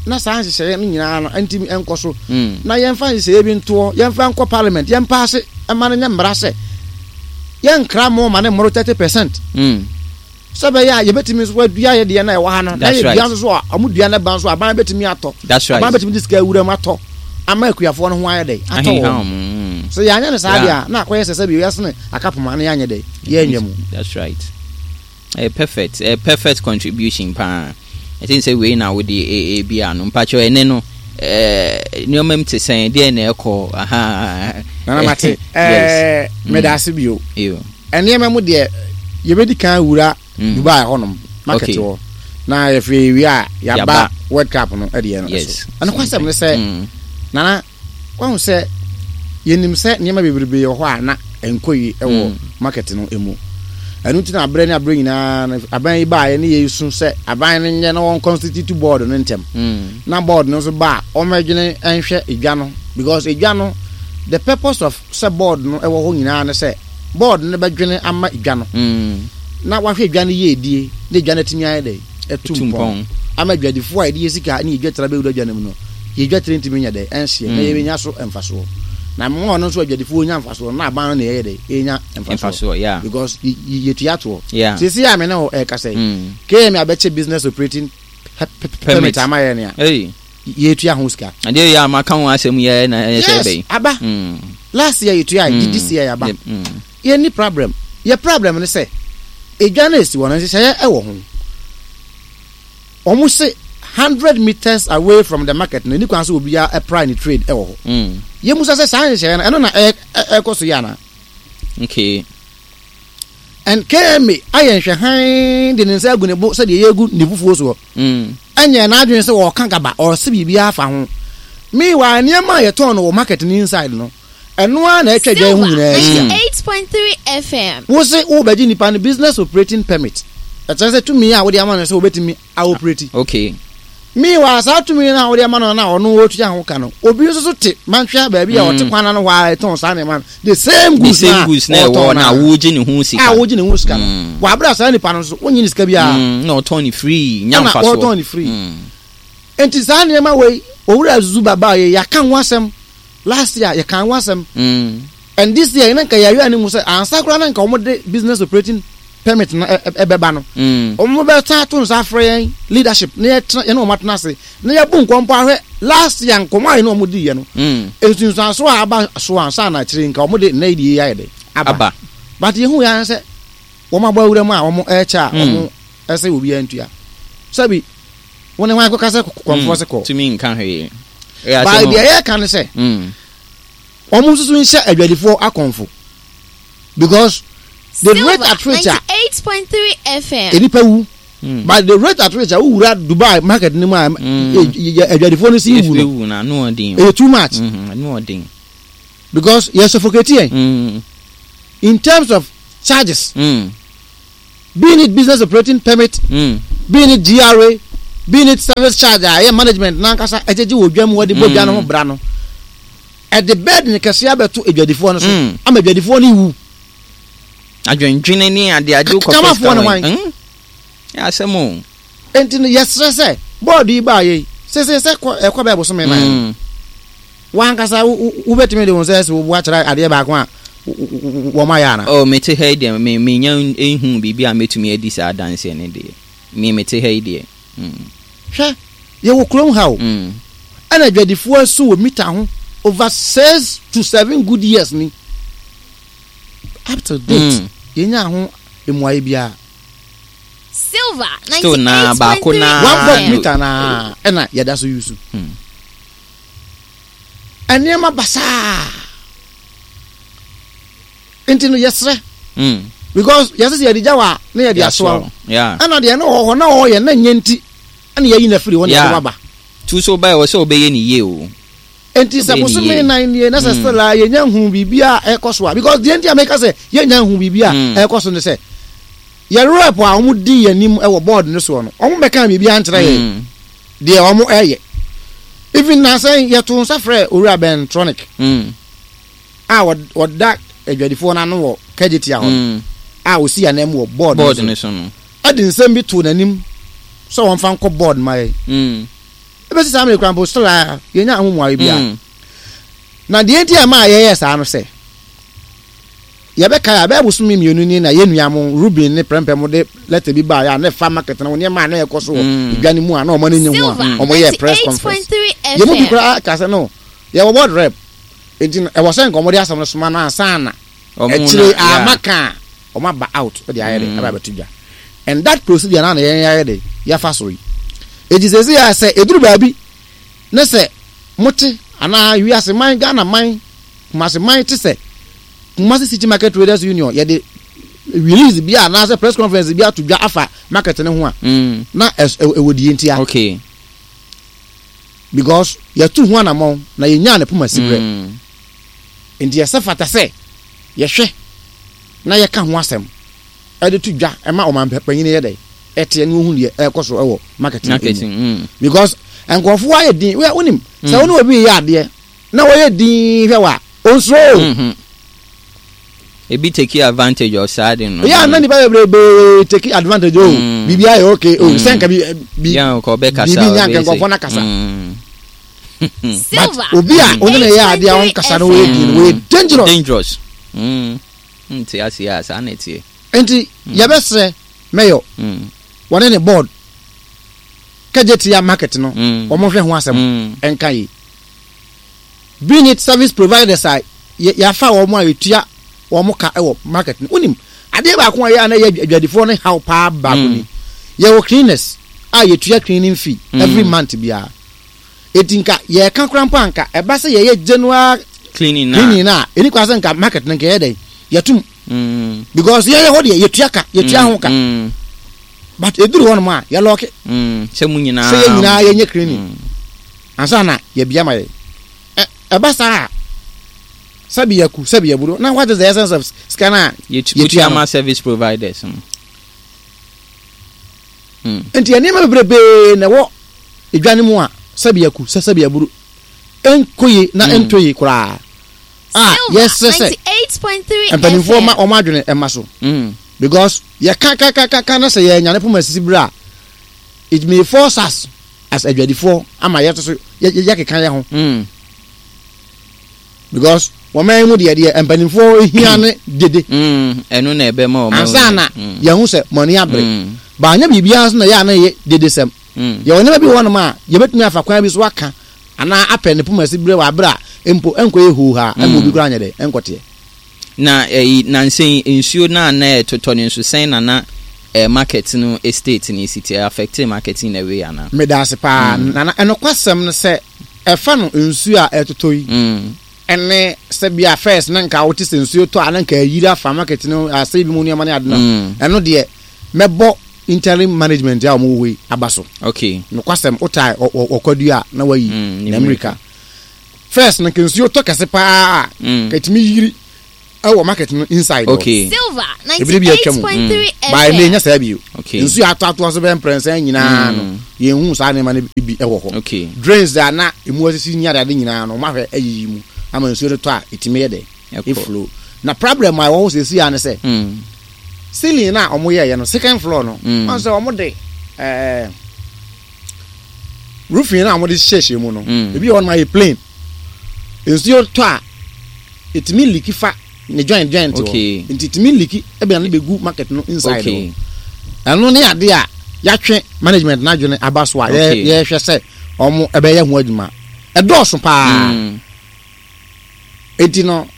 na saa nhyehyɛeɛ no nyinaa no ntumi nkɔ so Mm. na yɛmfa nhyehyɛeɛ bi ntoɔ, yɛmfa nkɔ parliament, yɛmpaase ɛma no nyɛ mmara sɛ yɛnkra mo ma ne mmoro thirty percent Mm. sɛ bɛyɛ a yɛbɛtumi nso adua yɛ deɛ no a ɛwɔ ha no na That's yɛdua right. nso so a, ɔmo dua no ba nso aban bɛtumi atɔ. That's right. Aban bɛtumi de sika awura mu atɔ ama akuafoɔ no ho ayɛ dɛ atɔ Ahenha wɔn. wɔn. Mm. Sɛ yɛanyɛ no saa Yeah. deɛ a, na akɔyɛ sɛ sɛ bi yɛsene akapoma no yɛanyɛ dɛ yɛanyɛ mu. That's right. A perfect, a perfect contribution paa. I think sɛ wei na wode ebi ano. Mpakyɛw, ɛnɛ no ɛɛ nneɛma mu te sɛn deɛ na ɛkɔ aha? Nana, mate. Yes. Ɛɛ, meda ase bio. Eyo. Nneɛma mu deɛ, yɛbɛdi kan wura Mm. Dubai hɔnom market Okay. hɔ na yɛfiri wie a, yɛaba Yɛaba. World Cup no ɛdeɛ no. Yes. So ɛno kwasɛm ne sɛ, Mm. Nana, wahu sɛ yɛnim sɛ nneɛma bebrebe wɔ hɔ a na ɛnkɔ yi ɛwɔ Mm. market no mu. Ɛno nti na aberɛ ne aberɛ nyinaa no, aban yi baeɛ ne yɛsu sɛ aban no nyɛ na wɔn constitute board no ntɛm Mm. na board no nso ba a, ɔmɛdwene nhwɛ edwa no, because edwa no, the purpose of sɛ board no ɛwɔ hɔ nyinaa ne sɛ board no bɛdwene ama edwa no Mm. na wahwɛ edwa no yie die na edwa no atumi ayɛ dɛ ɛtu Ɛtu mpɔn mpɔn. ama adwadifoɔ a yɛde yɛ sika ne yɛdwa tira bɛwura dwa no mu no, yɛdwa tire ntumi nyɛ dɛ ɛnhyeɛ na Mm. yɛbɛnya so mfasoɔ na mmoa ɔno nso adwadifoɔ nya mfasoɔ na aban no na yɛyɛ dɛ yɛnya mfasoɔ Mfasoɔ, yeah. because y- y- yɛtua toɔ. Yeah. Seesei a me ne wo ɛrekasa yi, Mm. K M A abɛkyɛ business operating pe- pe- permit ama yɛ nea Hey. yɛtua ho sika. Adeɛ yɛ a maka ho asɛm yɛ na ɛyɛ sɛ Yes, bɛyi. aba. Mm. Last year yɛtua, Mm. this year yɛaba. Yep. Mm. Yɛnni problem. Yɛ problem ne sɛ edwa no esi hɔ no, nhyehyɛeɛ ɛwɔ ho. Wɔn se hundred meters away from the market no, ni kwan sɛ obiara ɛply ne trade ɛwɔ hɔ. Mm. Yɛmusa sɛ saa nhyehyɛeɛ no, ɛno na ɛ- ɛ- ɛkɔ so yɛ ana? Okay. And K M A ayɛ nhwɛhan de ne nsa agu ne bo sɛdeɛ yɛgu ne fufuo soɔ. Mm. Ɛnyɛ n'adwene sɛ wɔɔka gaba ɔse biribiara fa ho. Meanwhile, nneɛma a yɛtɔn no wɔ market no inside no, ɛno ara na ɛtwa dwa yi ho nyinaa ahyia. ninety-eight point three F M. Wo se wobɛgye nipa no business operating permit, ɛkyerɛ sɛ tumi a wode ama no sɛ wobɛtumi aoperate. Okay. Meanwhile, saa tumi no a wode ama no na ɔno wɔtua ho ka no, obi nso so te mantwea baabi a ɔte Mm. kwan no hɔ a ɛtɔn saa nneɛma no, the same The goods same na goods na ɛwɔ ɔtɔn na no wogye ne ho sika. a wogye ne ho sika no. Mm. Wɔ a saa nipa no nso wonye ne sika biara. Mm. Na ɔtɔn ne free nya Ɛna mfasoɔ. ɔtɔn ne free. Mm. Nti saa nneɛma wei, Owura Zuba baa yɛ, yɛaka ho asɛm last year, yɛka ho asɛm. Mm. And this year na nka yɛayɛ anim sɛ ansa koraa na nka wɔn business operating permit no ɛ- ɛ- ɛbɛba no, Mm. wɔn bɛta ato nsa afrɛ yɛn leadership na yɛtena yɛne wɔn atena ase na yɛbu nkɔmpɔ ahwɛ last year nkɔmɔ a yɛne wɔn di yɛ no, Mm. nsunsuanso a aba so ansa na akyire nka wɔn de nna yi de yɛ ayɛ dɛ aba. Aba. But yehu yɛn sɛ wɔn abɔ awura mu a wɔn ɛrekyɛ a, Mm. wɔn ɛsɛ obiara ntua sɛbi wɔn ne wɔn akɔka sɛ kɔnfoɔ sɛ kɔ. Tumi nka hwee. Ɛyɛ Baa asɛm o. deɛ yɛreka ne sɛ Mm. wɔn nso so nhyɛ adwadifoɔ akɔnfo, because the rate at which a ninety-eight point three F M. nipa wu, Mm. but the rate at which a wowura Dubai market ne mu a Mm. ɛ- ɛ- adwadifoɔ no si wu no, Ewu na ano ɔden. ɛyɛ too much. Mhm, ano ɔden. Because yɛ suffocate yɛn Mm. in terms of charges, Mm. being it business operating permit, Mm. being it G R A, being it service charge a ɛyɛ management nankasa ɛgyegye wɔ dwa mu, wɔde bɔ dwa no ho bra no, ɛde burden kɛseɛ abɛto adwadifoɔ no so Mm. ama adwadifoɔ no wu. Adwendwene ne adeade wokɔpɛ Kamafoɔ sika ne wɔ hwan? Mm. Yɛ asɛm o. Nti no yɛsrɛ sɛ board yi baa yɛ yi sese sɛ kɔ ɛkɔ bɛɛ bosome nan, Mm. wankasa wo- wo- wobɛtumi de wo nsa asi wo bo akyerɛ adeɛ baako a wo- wo- wo- wɔn ayɛ ana? Oh, mete ha yi deɛ, me menya ehu biribi a mɛtumi adi saa adanseɛ no deɛ, me mete ha yi deɛ. Mm. Hwɛ, yɛwɔ kurom ha o, Mm. ɛna adwadifoɔ asu wɔ meter ho over six to seven good years ni. Up to date, Mm. yɛnya ho mmuayɛ biara. Silver Still na baako na- One volt Ah. meter na ɛna yɛda so use. Mm. Nneɛma basaa nti no yɛsrɛ Mm. because yɛsɛ sɛ yɛde gya wɔ a na yɛde asoa wo. Yeah. Ɛna deɛ ne wɔ hɔ na ɔyɛ na nyɛ nti ɛna yɛyi no afiri hɔ na Yeah. yɛde waba. Tu so ba ɛwɔ sɛ wobɛyɛ ne yie o. Nti sɛ Ɔbɛyɛ ne bosome yie. nan nie na sɛ Mm. still a yɛnya hu biribi a ɛkɔ so a, because deɛ nti a meka sɛ yɛnya hu biribi a Mm. ɛkɔ so ne sɛ yɛ rep a wɔn di yɛn anim ɛwɔ board no soɔ no, wɔn bɛka biribi ankyerɛ yɛn Mm. deɛ wɔn ɛyɛ. Even na sɛ yɛto nsa frɛ Owura Bentronic Mm. a wɔd- wɔda adwadifoɔ no ano wɔ Kejetia hɔ no, Mm. a osi anan mu wɔ board no board so, no so no. Ɛde nsɛm bi to n'anim sɛ wɔmfa nkɔ board ma yɛn. Mm. Ebɛsi saa mmerɛ kura mpo, still a yɛnya ahomuayɛ bi a. Mm. Na deɛ nti a maa yɛyɛ saa no sɛ yɛbɛka a bɛyɛ bosome mmienu ni na yɛn nua mo Ruben ne Prɛmpɛ mo de letter bi baa yɛ a ne fa market no nneɛma a na ɛkɔ so wɔ Mm. edwa no mu a na ɔmo ani nye ho a Silver ɔmo yɛ press conference. ninety-eight point three Yɛn mu bi F M. koraa ka sɛ no, yɛwɔ board rep, nti no ɛwɔ sɛ nka ɔmo de asɛm no soma no ansa na Ɔmo akyire na- yeah. ama ka a ɔmo aba out ɛde ayɛ de Mm. aba abɛto dwa, and that procedure na na yɛn ayɛ de yɛfa so yi. Eti sɛ esi yɛ sɛ eduru baabi ne sɛ mote anaa wiase man, Ghana man, Kumasi man te sɛ Kumasi City Market Traders Union yɛde release bi a anaasɛ press conference bi ato dwa afa market ne ho a, Mm. na ɛs- ɛwɔ ɛwɔ die ntia Okay. because yɛtu ho anammɔn na yɛnyaa ne poma siberɛ. Mm. Nti yɛsɛ fata sɛ yɛhwɛ na yɛka ho asɛm ɛde to dwa ɛma ɔman panyin yɛ dɛ ɛteɛ ne ohun deɛ ɛkɔ so ɛwɔ market no mu. Marketing. Mm. Because nkurɔfoɔ ayɛ din wɛ, wonim sɛ Mm. wo ne obi yɛ adeɛ na wɔyɛ din hwɛ wa onsuro o. Mhm. Ebi take advantage of saa de no. Yɛ a na nipa bebree take advantage o. Mm. Biribi ayɛ okay o, Mm. sɛ nka bi bi Yɛn kɔ ɔbɛkasa. biribi nya nka ɔbɛyɛ nkurɔfoɔ sɛ- no kasa. Mm. But Silver obi a ɔne na yɛ adeɛ a ɔnkasa no, wɔyɛ din no, wɔyɛ dangerous. Dangerous. Mm. Nte ase a saa na ɛteɛ. Nti yɛbɛsrɛ mayor Mm. wɔne ne board, Kejetia market no, Mm. wɔn hwɛ ho asɛm Mm. ɛnka yi, being it service providers a yɛ- yɛafa wɔn a yɛtua wɔn ka ɛwɔ market no. Wonim adeɛ baako a yɛ a na yɛ adwadifoɔ no haw paa baako Mm. ni, yɛwɔ cleaners a yɛtua cleaning fee Mm. every month biara. Eti nka yɛka kora mpo anka ɛba sɛ yɛyɛ general cleaning na. Cleaning na ɛni kwa sɛ nka market no nka yɛ dɛ yɛtum Mm. because yɛyɛ hɔ deɛ, yɛtua ka, yɛtua ho ka, Mm. but eduru hɔ nom a yɛlock Mm. Sɛ mu nyinaa. Sɛ yɛn nyinaa yɛnyɛ cleaning Mm. ansa na yɛbia ma yɛ. Ɛ ɛba saa a, sɛbi yɛku sɛbi yɛburo na what is the essence of sika na Yɛtu- yɛtua Wotua no? ma service providers no. Mm. Nti nneɛma bebrebee na ɛwɔ edwa no mu a sɛbi yɛku sɛ sɛbi yɛburo ɛnkɔ yie na Mm. ɛntɔ yie koraa a Silver yɛsrɛ sɛ ninety-eight point three mpanimfoɔ ma F M. ɔmo adwene ɛma so Mm. because yɛka ka ka ka ka na sɛ yɛnyane poma sisi bere a, it may force us as adwadifoɔ ama yɛto so yɛ- yɛ- yɛkeka yɛ ho Mm. because wɔn mu deɛ deɛ mpanimfoɔ hia ne dede. Mm. Ɛno na ɛbɛma ɔmo. Ansa na Mm. yɛn ho sɛ mɔni abere Mm. baanya biribiara nso na yɛ a na yɛ dede sɛm. Mm. Yɛwɔ nneɛma bi wɔ hɔnom a yɛbɛtumi afa kwan bi so aka anaa apɛ ne poma si bere wɔ abere a mpo ɛnkɔ yɛ hoo ha ɛma obi koraa nyɛ dɛ ɛnkɔteɛ. Na ɛyi nansɛn nsuo na na ɛtotɔ no nso sɛn na na eh, market no estate ne si te affect market in a way ana? Meda ase paa, Nana. Ɛnokwasɛm no sɛ ɛfa no nsuo a ɛtotɔ yi Mm. ɛne sɛ bia first na nka wote sɛ nsuo tɔ a na nka ayiri afa market no asɛ bi mu nneɛma ne ade no, Mm. ɛno deɛ mɛbɔ interim management a wɔn wɔ hɔ yi aba so. Okay. Nokwasɛm wotae ɔkwadua a na wayi Mm, ne na mmirika. First no, nka nsuo tɔ kɛse paa a, Mm. ka ɛtumi yiri ɛwɔ market no inside hɔ. Okay. Silver Ebile bi atwa mu. ninety-eight point three Baa ne F M. nya saa bio. Okay. Nsuo atɔ atoa so bɛyɛ mprɛnsa nyinaa no, Mm. yɛnhu saa nneɛma no bi ɛwɔ hɔ. Okay. Drains a na emu asisi ne adeade nyinaa no, ɔmo ahwɛ ayiyi mu ama nsuo no tɔ a, ɛtumi yɛ dɛ Ɛkɔ. ɛflow. Na problem a ɛwɔ hɔ seesei a ne sɛ Mm. ceiling na ɔmo yɛɛyɛ no, second floor no, Mm. wɔn sɛ ɔmo de ɛɛ roofing na ɔmo de hyehyɛ mu no, Mm. ebi wɔ hɔ nom ayɛ plain. Nsuo tɔ a, ɛtumi leak fa ne joint joint hɔ. Okay. Nti ɛtumi leak ɛbɛn ne bɛgu market no inside Okay. hɔ. Ɛno ne ade a yɛatwe management n'adwene aba so a yɛ- Okay. yɛhwɛ sɛ ɔmo ɛbɛyɛ ho adwuma. Ɛdɔɔso paa. Mm. Eti no,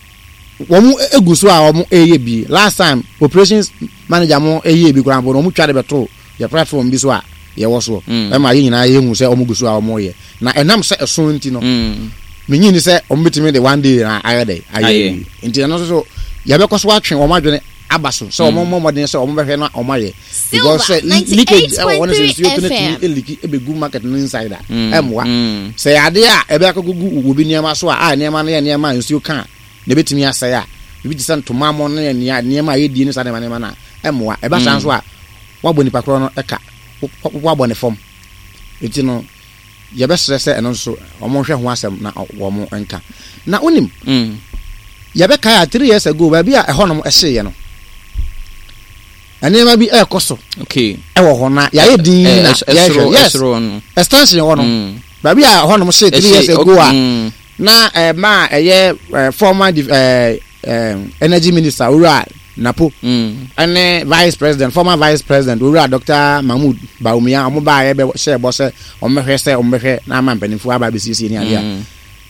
wɔn egu so a wɔn ɛyɛ bi. Last time operations manager mo ɛyɛ bi koraa mpo no, wɔn twa de bɛto yɛ platform bi so a yɛwɔ soɔ, Mm. ɛma yɛn nyinaa yɛhu sɛ wɔn gu so a wɔn yɛ. Na ɛnam sɛ ɛso nti no, Mm. menyi ni sɛ wɔn bɛtumi de one day na ayɛ dɛ ayɛ Ayɛ. bi. Nti ɛno nso so yɛbɛkɔ so atwe wɔn adwene aba so sɛ wɔn mmɔ mmɔden sɛ wɔn bɛhwɛ na wɔn ayɛ, because sɛ Silver leakage ɛwɔ hɔ no, sɛ nsuo to no ninety-eight point three tumi F M. eleak ɛbɛgu market no inside a, Mm. ɛmmoa. Mm. Sɛ yɛ adeɛ a ɛbɛyɛ akɔgugu obi nneɛma so a a nneɛma no yɛ nneɛma a nsuo ka a na ebɛtumi asɛe a, ebi te sɛ ntoma mo no yɛ nea nneɛma a yɛdie ne saa nneɛma nneɛma no a, ɛmmoa. Ɛba saa nso a, wabɔ nipa korɔ no ɛka, wo- wo- wabɔ ne fam. Eti no, yɛbɛsrɛ sɛ ɛno nso wɔn nhwɛ ho asɛm na wɔn nka. Na wonim, Mm. yɛbɛkae a, three years ago, baabi a ɛhɔnom ɛhyeeɛ no, nneɛma bi ɛrekɔ so Okay. ɛwɔ hɔ na yɛayɛ din Eh, na ɛs- ɛsoro yɛhwɛ. Yes, ɛsoro no. Extension hɔ no, Mm. baabi a ɛhɔnom hyee three Ɛhye- years ago a, Mm. na ɛma a ɛyɛ ɛ former dif- ɛ ɛ energy minister, Owura Napo, Mm. ɛne vice president, former vice president, Owura Doctor Mahmood Bawumia, ɔmo baa yɛ bɛ hyɛ bɔ sɛ ɔmo bɛhwɛ sɛ ɔmo bɛhwɛ na ama mpanimfoɔ aba abɛsiesie ne adeɛ a, Mm.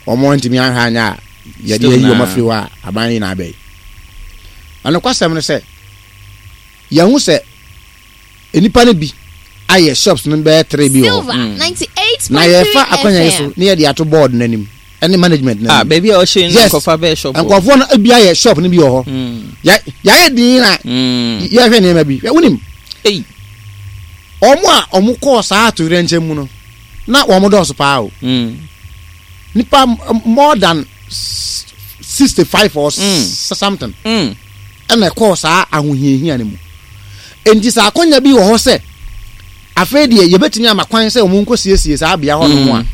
ɔmo ntumi ahwɛ anya a yɛde Still ayi ɔmo na. afiri hɔ a aban yi na abɛyi. Ɔnokwasɛm no sɛ yɛho sɛ nnipa no bi ayɛ shops no bɛyɛ three bi wɔ hɔ. Silver Mm. Na yɛfa ninety-eight point three akonnwa yi so F M. ne yɛde ato board n'anim ɛne management Ah, n'anim. baabi a ɔhyɛ no Yes. nkɔfa bɛyɛ shop hɔ. Nkurɔfoɔ no bi ayɛ shop no bi wɔ hɔ. Mm. Yɛ- yɛayɛ din na Mm. yɛhwɛ nneɛma bi. Hwɛ, wonim, Ei. ɔmo a ɔmo kɔɔ saa atoyerɛnkyɛm mu no na wɔn dɔɔso paa o. Mm. Nipa m- more than sixty five or Mm. something Mm. ɛna ɛkɔɔ saa ahohiahia no mu. Nti sɛ akɔnya bi wɔ hɔ sɛ afei deɛ yɛbɛtumi ama kwan sɛ ɔmo nkɔ siesie saa bea hɔ nom a, Mm.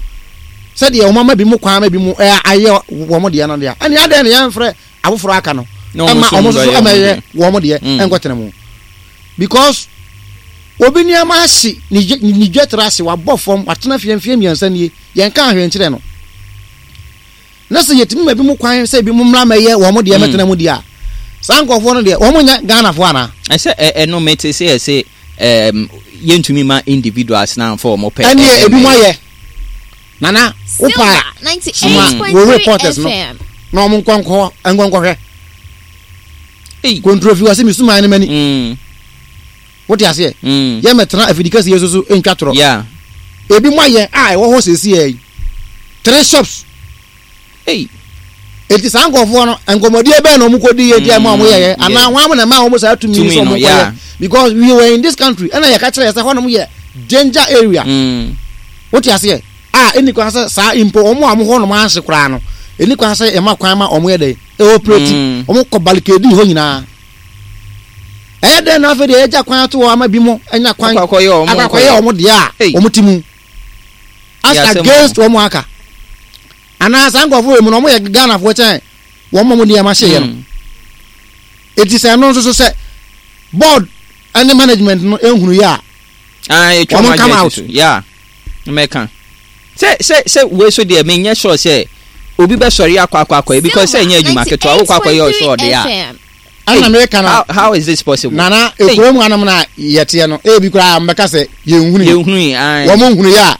sɛdeɛ ɔmo ama bi mu kwan ama bi mu ɛyɛ ayɛ wɔn deɛ no deɛ, ɛne adeɛ no yɛmfrɛ afoforɔ aka no Na ɔmo ɛma nso ɔmo nso so mbɛyɛ ɛma ɔmo ɛyɛ deɛ. wɔn deɛ Mm. ɛnkɔtena mu, because obi nneɛma ahye ne dwe- ne dwetire ase, wabɔ fam, watena fie mfie mmiɛnsa nie, yɛn ka ahwɛ nkyerɛ no. Na sɛ yɛtumi ma bi mu kwan sɛ bi mu mmra mɛyɛ wɔn deɛ Mm. mɛtena mu deɛ a, saa nkurɔfoɔ no deɛ, wɔn nyɛ Ghanafoɔ anaa? Ɛsɛ ɛ- ɛno mete sɛ yɛsɛ um, yɛntumi ma individuals na amfa ɔmo pɛ. Ɛneɛ ɛ- ebi mu ɛ- ayɛ. Nana, wopa Silver soma ninety-eight point three wo reporters no F M. na ɔmo nkɔ nkɔ nkɔ nkɔhwɛ. Ei. Kontrofi wɔ sɛ mesuman no mani. Mm. Wote aseɛ? Mm. Yɛmɛtena afidi kɛseɛ so so ntwa torɔ. Yeah. Ebi mu ayɛ a ɛwɔ hɔ seesei yi, three shops. Ei. Eti saa nkɔfoɔ no, nkɔmɔdie bɛɛ na ɔmo kɔ di yɛ di a ɛma ɔmo yɛyɛ Mm, anaa yeah. wɔn na ɛma ɔmo saa tumi Tumi sɛ ɔmo no, kɔ yeah. yɛ? Because we were in this country, ɛna yɛka kyerɛ yɛ sɛ hɔnom yɛ danger area. Mm. Wote aseɛ? A ɛni kwan sɛ saa mpo ɔmo a ɔmo hɔnom ahye koraa no, ɛni kwan sɛ ɛma kwan ma ɔmo yɛ dɛ ɛoperate. Mm. Ɔmo kɔ barricade hɔ nyinaa. Ɛyɛ dɛn na afei deɛ yɛgya kwan ato hɔ ama bi mo ɛnya kwan Akɔ akɔyɛ ɔmo akɔ akɔyɛ ɔmo deɛ a Ei. ɔmo ti mu as Yɛ asɛm against ɔmo aka? Anaa saa nkurɔfoɔ wɔ mu no, ɔmo yɛ Ghanafoɔ kyɛn wɔn mo nneɛma hyeeɛ no? Mm. Eti sɛ ɛno nso so sɛ board ɛne management no ehunu yɛ a, Ah, yɛtwa wɔn ɔmo come adwene out. si so. Yeah. Mɛka. Sɛ sɛ sɛ wei so deɛ, menyɛ sure sɛ obi bɛsɔre akɔ akɔ akɔyɛ, because sɛ ɛnyɛ adwuma ketewa wokɔ akɔyɛ ɔsɛ ɔde a. eight point three F M. Ɛna meka no. How, how is this possible? Nana, ekurom hanom na yɛteɛ no, ebi koraa mbɛka sɛ yɛnhunu yi. Yɛnhunu yi, ae. Wɔn nhunu yi a,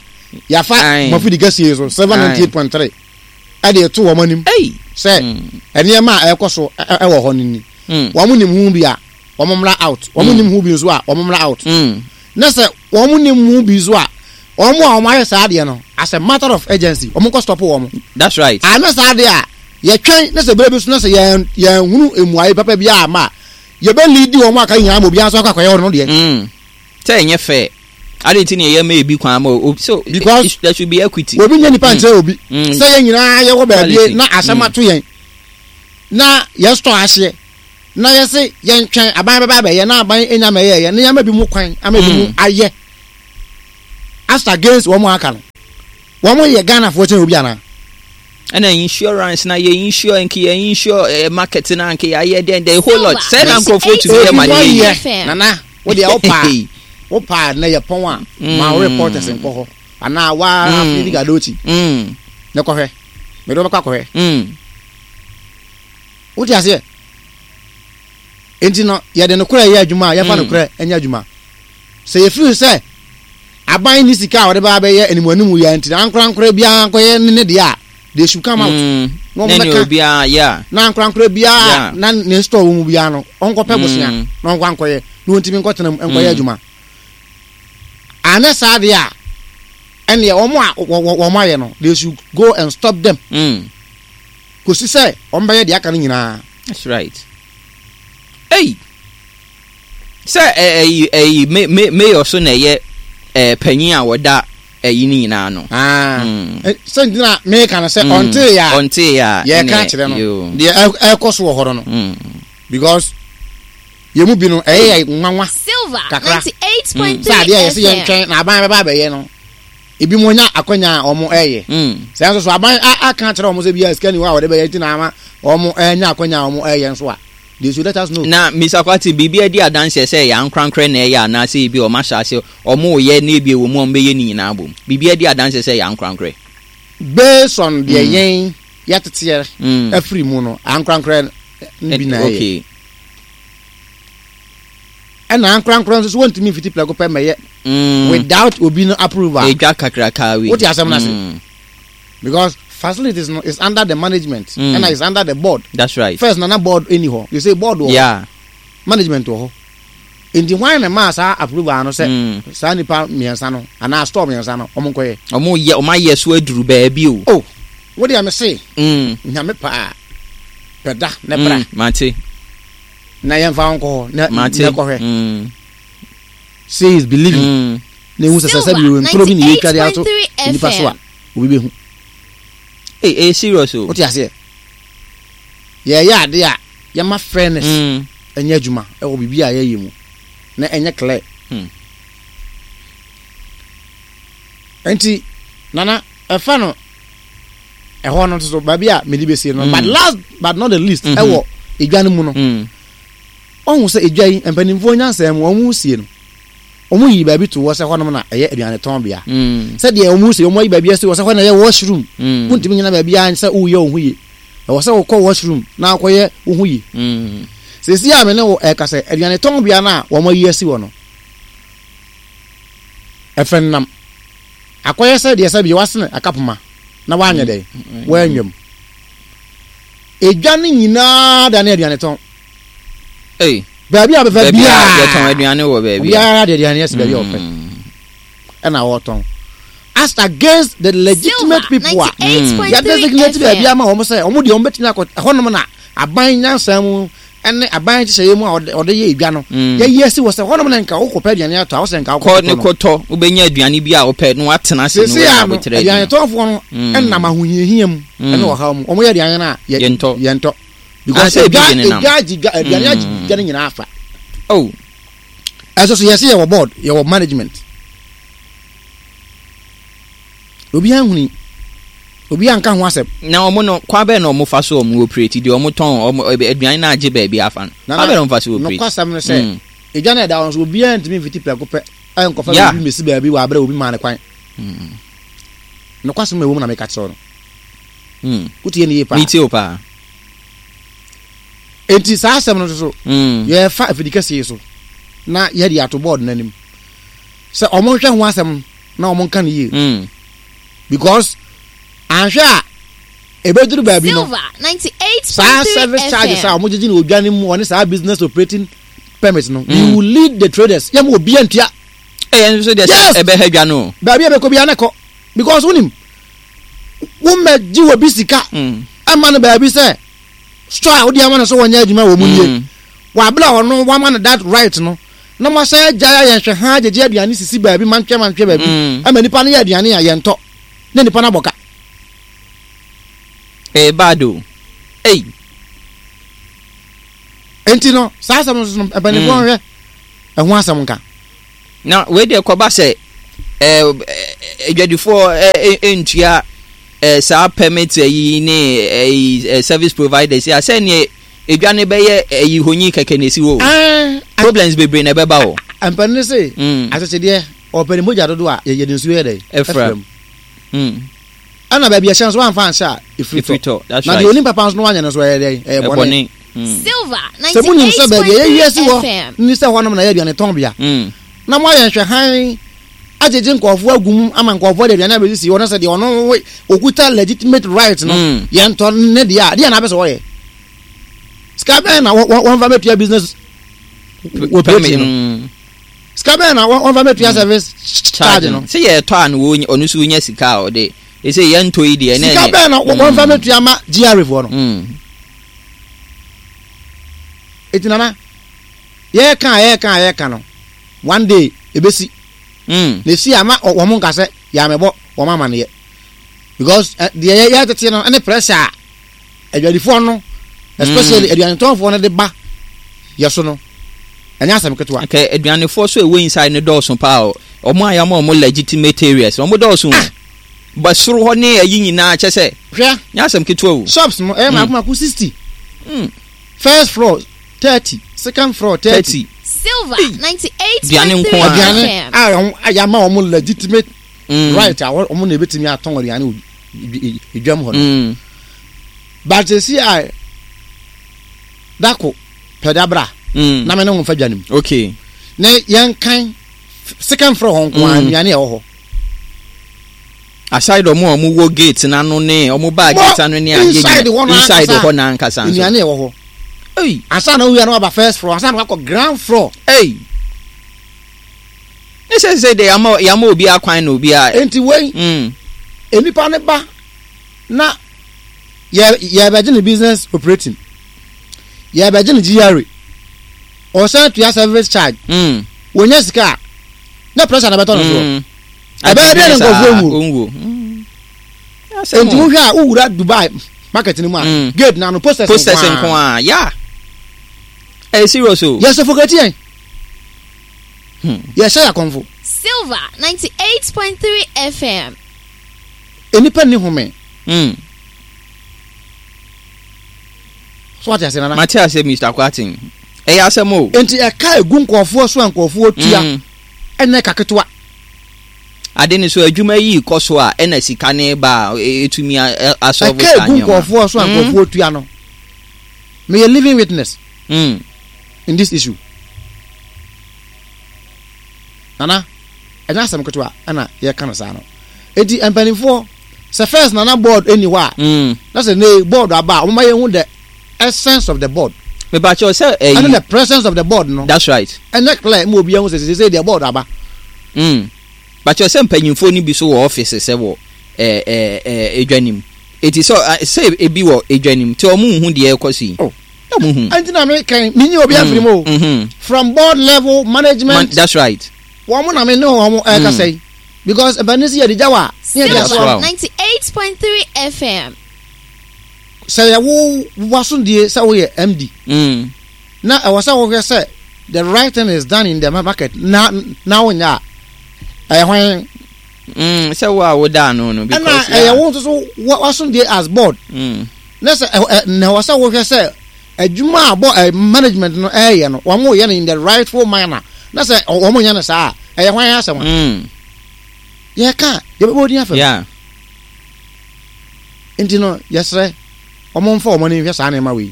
yɛafa Aye. mafidi kɛseɛ so seven ninety eight point three ɛde eto wɔn anim Ei. sɛ Mm. nneɛma a ɛkɔ so ɛ- ɛ- ɛwɔ hɔ no ni. Mm. Wɔn nim ho bi a, wɔn mmra out. Wɔn Mm. nim ho bi nso a, wɔn mmra out. Mm. Na sɛ wɔn nim ho bi nso a, wɔn a wɔn ayɛ saa adeɛ no, as a matter of urgency, wɔn nkɔ stop wɔn. That's right. Anyɛ saa adeɛ a, yɛtwɛn na sɛ bere bi so na sɛ yɛn yɛn hunu emuaye papa bi a ama a, yɛbɛ lead wɔn aka nyinaa ma obiara nso akɔ akɔyɛ wɔn deɛ. Mm. Sɛ ɛnyɛ fair. Adi nti na yɛ ma ebi kwan ma o, so Because there should be equity. Obi nyɛ nipa nkyerɛ obi Mm. sɛ yɛn nyinaa yɛwɔ baabi Quality. na asɛm ato yɛn na yɛ store ahyeɛ na yɛse yɛntwɛn aban bɛba abɛyɛ na aban enya ma ɛyɛyɛ na yɛama bi mu kwan ama bi mu Mm. ayɛ as against wɔn a aka no. Wɔn yɛ Ghanafoɔ kyɛn obi anaa? Ɛna insurance na yɛ insure, nki yɛ insure eh, market na nki yɛ ayɛ den, the whole lot sɛ na nkurɔfoɔ tumi yɛ ma ne yɛ yɛ F M. Nana, wo deɛ, wo paa wo paa na yɛ pɔn a, ma wo reporters nkɔ hɔ anaa waa Mm. afidi gadokyi Mm, ne kɔhwɛ, mede wobɛkɔ akɔhwɛ. mm. Wote aseɛ? Nti no yɛde nokorɛ yɛ adwuma a, yɛfa Mm. nokorɛ nyɛ adwuma. Sɛ yɛfiri sɛ aban ne sika a wɔde ba bɛyɛ animuanimu yɛ nti na ankorankora biara nkɔyɛ ne ne deɛ a, they should come out Mm. na wɔn Ne ne bɛka obiara yeah. na ankorankora biara Yeah. na ne store wɔ mu biara no, ɔnkɔpɛ bosea Mm. na ɔnkɔ ankɔyɛ na wɔntumi nkɔtena mu nkɔyɛ Mm. adwuma. Anyɛ saa deɛ a, ɛneɛ wɔn a wɔ- wɔ- wɔn ayɛ no, they should go and stop them Mm. kòsi sɛ wɔn bɛyɛ deɛ aka no nyinaa. That's right. Hey, sɛ ɛyi ɛyi me me mayor so na ɛyɛ ɛɛ panyin a wɔda ɛyi ne nyinaa no. Ah. Mm. Eh, sɛ nti na meka no sɛ Mm. ɔntee a Ɔntee a yɛka ɛnɛ, kyerɛ no yo. deɛ ɛ- ɛkɔ so wɔ hɔ no no Mm. because yɛn mu bi no, ɛyɛ yɛ nwanwa Silver kakra. ninety-eight point three Sɛ adeɛ a yɛsɛ F M. yɛntwɛn na aban bɛba abɛyɛ no, ebi mo nya akɔnya a wɔn ɛyɛ Mm. sɛ nso so aban a- aka akyerɛ wɔn sɛ bi a sika ni hɔ a wɔde bɛyɛ, nti na ama wɔn ɛnya akɔnya a wɔn ɛyɛ nso a, they should let us know. Na Mister Kwati, biribi adi adanseɛ sɛ yɛ ankorankorɛ na ɛyɛ anaasɛ ebi ɔmo ahyɛ ase ɔmo yɛ na ebi wɔ mu a ɔmo bɛyɛ ne nyinaa bom, biribi adi adanseɛ sɛ yɛ ankorankorɛ? Based on deɛ Mm. yɛn yɛteteɛ Mm. afiri mu no, ankorankorɛ no bi na ɛyɛ. Okay. Ɛna ankorankorɛ nso so wɔntumi mfiti prɛko pɛ mɛyɛ Mm. without obi no approval. Edwa kakraka wei. Wote asɛm no ase? Mm. Because facilities no is under the management Mm. ɛna is under the board. That's right. First nana board ɛni hɔ, you say board wɔ hɔ, Yeah. management wɔ hɔ, nti hwan na maa saa approval no sɛ Mm. saa nipa mmiɛnsa no anaa store mmiɛnsa no ɔmo nkɔyɛ? Ɔmo yɛ, ɔmo ayɛ so aduru baabi o. Oh, wo deɛ, me se Mm. Nyame paa pɛda ne bra Mm. Mate. na yɛmfa wo nkɔ hɔ na Mate. na kɔhwɛ. Mm. See is believing. Mm. Na ehu sɛ sɛ sɛ bi ntoro bi na yɛtwa de ato ninety-eight point three nipa so a, F M. obi bɛhu. Hey, hey, serious o. Wote aseɛ? Yɛyɛ ade a, yɛma fairness Mm. ɛnyɛ adwuma ɛwɔ biribi a yɛyɛ mu na ɛnyɛ clear. Hmm. Nti nana, ɛfa no ɛhɔ no nso so baabi a mede bɛsie no, Mm. but last but not the least, Mhm. ɛwɔ edwa no mu no, Mm. ɔhu sɛ edwa yi, mpanimfoɔ nyansa mu, wɔn sie no, wɔn yi baabi to hɔ sɛ hɔnom na ɛyɛ aduane tɔn bea. Mm. Sɛdeɛ wɔn sie, wɔn ayi baabi asi hɔ sɛ hɔ na ɛyɛ washroom. Mm. Wontumi nyina baabi a sɛ woyɛ wo ho yie, ɛwɔ sɛ wokɔ washroom na akɔyɛ wo ho yie. Mm. Sɛsi a me ne wo ɛka sɛ aduane tɔn bea no a wɔn ayi asi hɔ no, ɛfɛ nnam akɔyɛ sɛ deɛ sɛ bi wasene akapoma na wanyɛ dɛ wɔanwam edwa no nyinaa da ne aduane tɔn. Hey. Baabi a bɛfɛ Baabi a biara yɛtɔn aduane wɔ baabi. Obiara de aduane asi baabi a ɔpɛ Mm. ɛna wɔtɔn, as against the legitimate Silver people a ninety-eight point three yɛ designate baabi F M. ama wɔn sɛ wɔn deɛ, wɔn bɛtumi akɔ ɛhɔnom na aban nyansa mu ɛne aban nhyehyɛeɛ mu a ɔde ɔde yɛ edwa no, Mm. yɛyi asi wɔ sɛ hɔnom na nka wokɔpɛ aduane atɔ a, wɔsɛ nka Kɔ wokɔ ne no. kɔtɔ, wobɛnya aduane bi a wopɛ na woatena ase no. Sese a no abotrɛ aduane tɔnfoɔ no Mm. ɛnam ahohiahia mu Mm. ɛne ɔhaw mu, wɔn yɛ aduane no a yɛ- Yɛntɔ. yɛntɔ because Ah, sɛ ebi edwa de nenam. edwa agye dwa, aduane agye Mm. dwa no nyinaa afa. Oh. Ɛso so yɛsɛ yɛwɔ board, yɛwɔ management, obiara nhuni, obiara nka ho asɛm. Na ɔmo no, kwan bɛn na ɔmo fa so ɔmo operate deɛ ɔmo tɔn ɔmo ɛbɛ- aduane na agye baabi afa no, kwan bɛn na ɔmo fa so operate? Nokwasɛm no sɛ Mm. edwa no ɛda hɔ nso, obiara ntumi mfiti prɛko pɛ ɛnkɔfa Yeah. baabi mesi baabi wɔ aberɛ a obi maa ne kwan. Mm. Nokwasɛm a ɛwɔ mu na meka kyerɛ wo no. Mm. Wotie ne yie paa? Metie o paa. Enti saa asɛm no nso so, Mm. yɛfa afidi kɛseɛ yi so na yɛde ato board no anim sɛ ɔmo nhwɛ ho asɛm na ɔmo nka no yie Mm. because anhwɛ a, ebeduru baabi no, Silver ninety-eight point three saa service charges a F M. ɔmo gyegye no odwa no mu, ɔne saa business operating permit no, we Mm. will lead the traders, yɛ mo obiara ntua. Ɛyɛ nso deɛ Yes. sɛ ɛbɛha dwa no. Baabi a bɛkɔ biara ne kɔ because wonim womɛgye wɔ bi sika Mm. ɛma no baabi sɛ store a wode ama no sɛ wɔnyɛ adwuma wɔ mu nie Mm. wabla, ɔno wama no that right no. Na mo asan agyae ayɛ nhwɛ ha agyegye aduane sisi baabi mantwɛ mantwɛ baabi Mm. ama nipa no yɛ aduane a yɛntɔ na nipa no abɔ ka. Ɛyɛ bad o. Ei. Enti no saa asɛm no so no, mpanimfoɔ Mm. nhwɛ ɛho asɛm nka. Na wei deɛ, kɔba sɛ ɛɛ adwadifoɔ ɛ ntua ɛɛ saa permit yi ne ɛyi ɛ service providers yi a, sɛ edwa ne bɛyɛ ɛyi honyi kɛkɛ na esi hɔ o. Ɛɛ, problems bebree na ɛbɛba o. Mpanin se Mm. akyekyedeɛ ɔpɛ ne mogya dodo a, yɛde nsuo yɛ dɛ ɛfra mu. Mm. Ɛna baabi ɛhyɛ nso wamfa anhyɛ a, ɛfiri efiri tɔ. Tɔ, that's Na right. deɛ onim papa nso no wanyɛ no nso, ɛyɛ dɛ ɛyɛ bɔne. Ɛbɔne. Mm. Silver Sɛ munim sɛ baabi a yɛyi asi hɔ ninety-eight point three F M. ni sɛ hɔnom na yɛ aduane tɔn bea Mm. na moayɛ nhwɛhan agyegye nkɔɔfoɔ agu mu ama nkɔɔfoɔ de aduane abɛsisi hɔ, na sɛ deɛ ɔno wo- okuta legitimate right no Mm. yɛntɔ ne deɛ a, deɛ na apɛ sɛ wɔyɛ sika bɛn na wɔ- wɔ- wɔmfa bɛtua business operating no? Mm. Sika bɛn na wɔ- wɔmfa bɛtua service charge no? Sɛ yɛtɔ a no, wɔnya- ɔno nso wonya sika a ɔde ɛsɛ yɛntɔ yi deɛ. Sika bɛn na wɔ- wɔmfa bɛtua ma G R A foɔ no? Mm. Eti nana, yɛka a yɛka a yɛka no, one day ebesi. Mm. Na esi ama ɔ- wɔn nka sɛ yàmɛbɔ wɔn amaneɛ, because ɛ deɛ yɛ yɛtete no ɛne pressure a adwadifoɔ no, especially aduanetɔnfoɔ no, de ba yɛ so no, ɛnyɛ asɛm ketewa. Nka aduanefoɔ so ɛwɔ inside no dɔɔso paa o. Ɔmo a yɛama ɔmo legitimate areas, ɔmo dɔɔso o. Ba soro hɔ ne ayi nyinaa kyɛ sɛ Hwɛ. Nyɛ asɛm ketewa o. Shops no ɛyɛ mako mako sixty. Mm. First floor thirty, second floor thirty. Thirty. Silver Hey. Aduane ninety-eight point three nko ara. Aduane F M. a wɔn a yɛama wɔn legitimate Mm. right a wɔn wɔn na ebetumi atɔn aduane wɔ edwam hɔ no. Mm. But esi a dako pɛdabra Mm. na mɛ ne ho nfa dwa ne mu okay na yɛn kan second floor hɔ nko ara, Mm. nnuane a ɛwɔ hɔ. Aside ɔmo a ɔmo wɔ gate n'ano ne ɔmo baa Mo- gate ano ne adeɛ inside nyinaa- hɔ no inside ankasa. hɔ n'ankasa nso. Nnuane a ɛwɔ hɔ. Ei. Ansa na owia no waba first floor, ansa na wakɔ ground floor. Ei, ne sɛ sɛ de yama yama obi akwan na obi a. Nti wei Mm. enipa ne ba na yɛ yɛbɛgye ne business operating, yɛbɛgye ne G R A, ɔsan tua service charge. Mm. Wonya sika a, na pressure na bɛtɔ no soɔ. Mm. Ɛbɛyɛ dɛ ne nkurɔfoɔ nwu. Onwuo. Mm. Asɛm Nti o. wohwɛ a, wowura Dubai market no mu a, Mm. gate na no posters. Posters nko a ya, ɛyɛ serious o. Yɛ suffocate yɛn. Hmm. Yɛhyɛ yɛ akɔnfo. Silver ninety-eight point three F M. Enipa ni home. Mm. So wate ase, nana? Mate ase, Mister Kwatin, ɛyɛ asɛm o. Nti ɛka egu nkɔɔfoɔ so a nkɔɔfoɔ tua Mm. ɛnɛ ka ketewa. Ade ne so adwuma yi kɔ so a, ɛna sika ne ba a e- etumi a- asɔlvo Ɛka saa egu nneɛma. nkɔɔfoɔ so a Mm. nkɔɔfoɔ tua no, meyɛ living witness Mm. in this issue. Nana, ɛnyɛ asɛm ketewa ɛna yɛka no saa no. Eti mpanimfoɔ sɛ first nana board ɛni hɔ a, Mm. na sɛ ne board aba a, wɔn yɛn hu the essence of the board Mebakyɛw sɛ ɛne ɛyi the presence of the board no. That's right. Ɛnyɛ clear mu, obi ɛhu sɛ sɛ sɛ deɛ board aba. Mm. Bakyɛw sɛ mpanyinfoɔ no bi so wɔ office sɛ wɔ ɛɛ ɛɛ ɛɛ edwa nim, eti sɛ ɛ, sɛ ebi wɔ edwa nim tí ɔmo nhu deɛ ɛkɔ so yi. Oh. Ɔmo hu. Ɛnti na mi kɛn mi nyi obi afiri mu o. Mhm. From board level management. Man, that's right. Wɔn mo na mi ne wɔn ɛkasa yi because mpanyin si yɛ de gya wa ne yɛ de That's aso. right. ninety-eight point three F M. Sɛ yɛ wo wasondie sɛ woyɛ M D Mm. na ɛwɔ sɛ wohwɛ sɛ the right thing is done in the market na na wonya a, ɛyɛ hwan? Mm. Sɛ wo a woda ano no ɛna because ɛyɛ wo nso so wa- wasondie as board Mm. na sɛ ɛ ɛ na ɛwɔ sɛ wohwɛ sɛ adwuma a bɔ ɛ management no ɛyɛ no, wɔn yɛ no in the rightful manner, na sɛ ɔ- wɔn nyɛ no saa a, ɛyɛ hwan asɛm a Mm. yɛka yɛbɛbɔ odin afɛm? Yeah. Nti no yɛsrɛ wɔn mfa wɔn ani nhwɛ saa nneɛma wei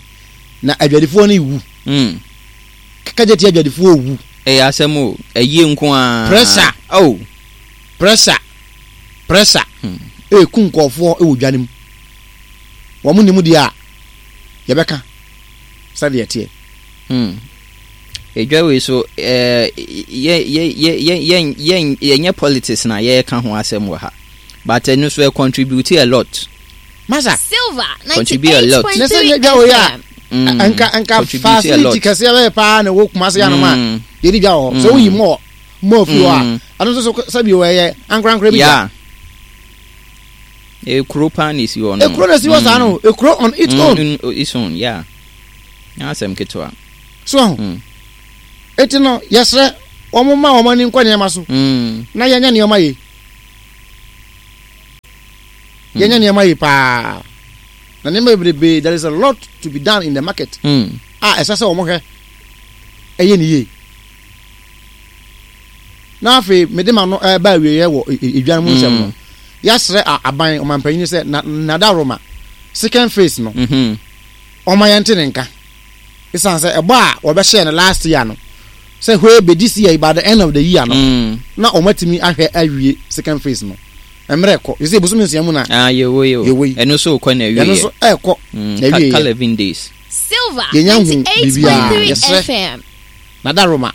na adwadifoɔ no wu. Mm. Kagye ti, adwadifoɔ wu. Ɛyɛ asɛm o, ɛyie nko ara. Pressure. Oh. Pressure, pressure Hmm. eku nkɔɔfoɔ wɔ dwa no mu. Wɔn nim deɛ a yɛbɛka sɛdeɛ teɛ. Hmm. Edwa wei so ɛɛ yɛ yɛ yɛ yɛ yɛ yɛ yɛnyɛ politics na yɛreka ho asɛm wɔ ha, but ɛno so ɛ contribute a lot. Masa. Silver Contribute a lot. Ne sɛ ninety-eight point three nyɛ dwa wei a F M. Mm. nka nka Contribute a lot. facility kɛseɛ bɛyɛ paa na ɛwɔ Kumase hanom a Mm. Yɛdi dwa wɔ hɔ. Sɛ woyi mall mall fi hɔ a, ɛno nso so sɛbi wɔyɛ ankorankora bi. Yeah, ekuro paa na esi hɔ no. Ekuro na esi hɔ saa no, ekuro on its own. Mm, its own, yeah, nyɛ asɛm ketewa. So ho eti no, yɛsrɛ wɔn ma wɔn ani nkɔ nneɛma so na yɛnyɛ nneɛma yie, yɛnyɛ nneɛma yie paa, na nneɛma bebrebe, there is a lot to be done in the market a ɛsɛ sɛ wɔn hwɛ ɛyɛ ne yie. Na afei mede ma no ɛba awieɛ wɔ edwa no mu nsɛm no, yɛasrɛ aban ɔmanpanyin sɛ na nadaroma second phase no, ɔma yɛn te ne nka, esan sɛ ɛbɔ a wɔbɛhyɛ no last year no sɛ hwee bɛdi si yɛ by the end of the year no na wɔn atumi ahwɛ awie second phase no. Mmerɛ kɔ yɛ sɛ ebosom nsia mu na ah, yɛwɔ yi o. Yɛwɔ yi. Ɛno nso kɔ na awie. Ɛno nso ɛɛkɔ na awie. Ka eleven days. Silver Yɛnya hu biribiara. ninety-eight point three Yɛsrɛ F M. Nadaroma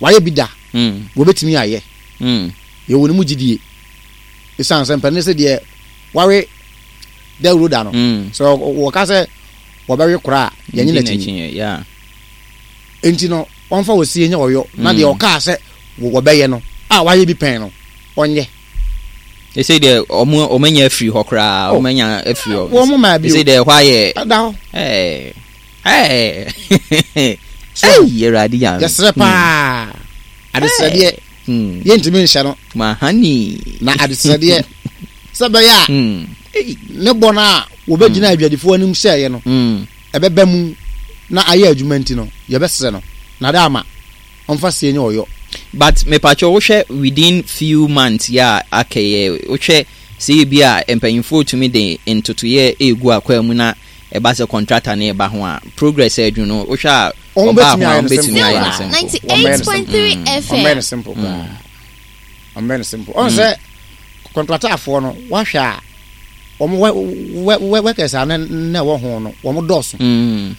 wayɛ bi da, wɔbɛtumi ayɛ. Yɛwɔ ne mu gyidie, ɛsiane sɛ mpanin sɛ deɛ wawe dawuro da no, sɛ wɔka sɛ wɔbɛwe kora a, yɛnye n'akyi. Yeah. Nti no wɔmfa wɔ sie nyɛ ɔyɔ na deɛ ɔkaa sɛ wɔbɛyɛ no a wayɛ bi pɛn no, ɔnyɛ. Ɛsɛ deɛ ɔmo ɔmo anya afiri hɔ koraa. Oh. Ɔmo anya afiri hɔ. Wɔn mo maa bi o. Ɛsɛ deɛ ɛhɔ ayɛ. Ɛda hɔ. Ɛɛ ɛɛ So, ɛyi, Awurade Nyame. Yɛsrɛ paa, adesrɛdeɛ Mm. yɛntumi nhyɛ no. Mahani. Na adesrɛdeɛ sɛ bɛyɛ a Mm. Ei. ne bɔ no a wɔbɛgyina adwadifoɔ anim hyɛeɛ no Mm. ɛbɛba mu na ayɛ adwuma nti no, yɛbɛsrɛ no na de ama ɔmfa sie nyɛ ɔyɔ. But mepatwɛ, wohwɛ within few months yɛ a aka yɛ, wohwɛ sɛ ebi a mpanyinfoɔ tumi de ntotoyɛ egu akwan mu na ɛba sɛ contractor ne ɛba ho a, progress adwuma no, wohwɛ a Wɔn ɔbaa bɛtumi ho a, ayɛ wɔn no bɛtumi simple. ayɛ no Silver simple. Wɔn bɛyɛ no simple. ninety-eight point three Ɔmbɛyɛ no F M. simple koraa, ɔmbɛyɛ no simple. Ɔn sɛ contractorfoɔ no, wahwɛ a, wɔn wɛ wɛ wɛ workers a ne ne ɛwɔ ho no, wɔn dɔɔso. Mm.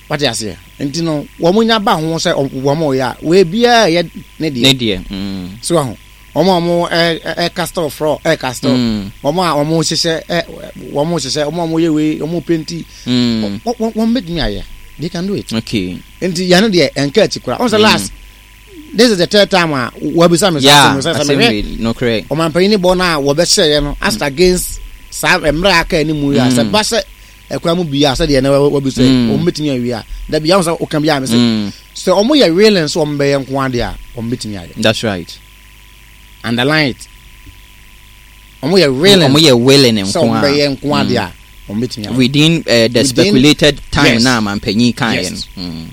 Wate aseɛ? Nti no wɔn nya ba ho sɛ wɔn yɛ a, wei biara yɛ ne Ne deɛ. deɛ. Mm. So ho wɔn a wɔn ɛ ɛ ɛcast floor, ɛcast, Mm. wɔn a wɔn hyehyɛ ɛ wɔn hyehyɛ, wɔn a wɔn yɛ wei, wɔn paint, Mm. wɔn wɔn bɛtumi ayɛ, they can do it. Okay. Nti yɛn no deɛ, ɛnka akyi koraa. Wɔn sɛ last, this is the third time a wɔabisa me Yeah. sɛ sɛ Asɛm mehwɛ wei nokorɛ. ɔmanpanyin bɔ no a wɔbɛhyɛeɛ no as against saa mmerɛ a aka anim yi a, sɛ ba sɛ ɛkwan mu bia sɛdeɛ na wɔabisa yi, Mm. wɔn bɛtumi awie a, dabi yɛn sɛ ɔka bi a, me sɛ Mm. sɛ wɔn yɛ willing sɛ wɔn bɛyɛ nko adeɛ a, wɔn bɛtumi ayɛ. That's right. Underline it, wɔn yɛ willing Ɔmo yɛ willing sɛ nko wɔn a. bɛyɛ nko adeɛ a, wɔn bɛtumi ayɛ. Within uh, the Within- speculated time Yes. na mampanyin kan yɛ Yes. no. Mm.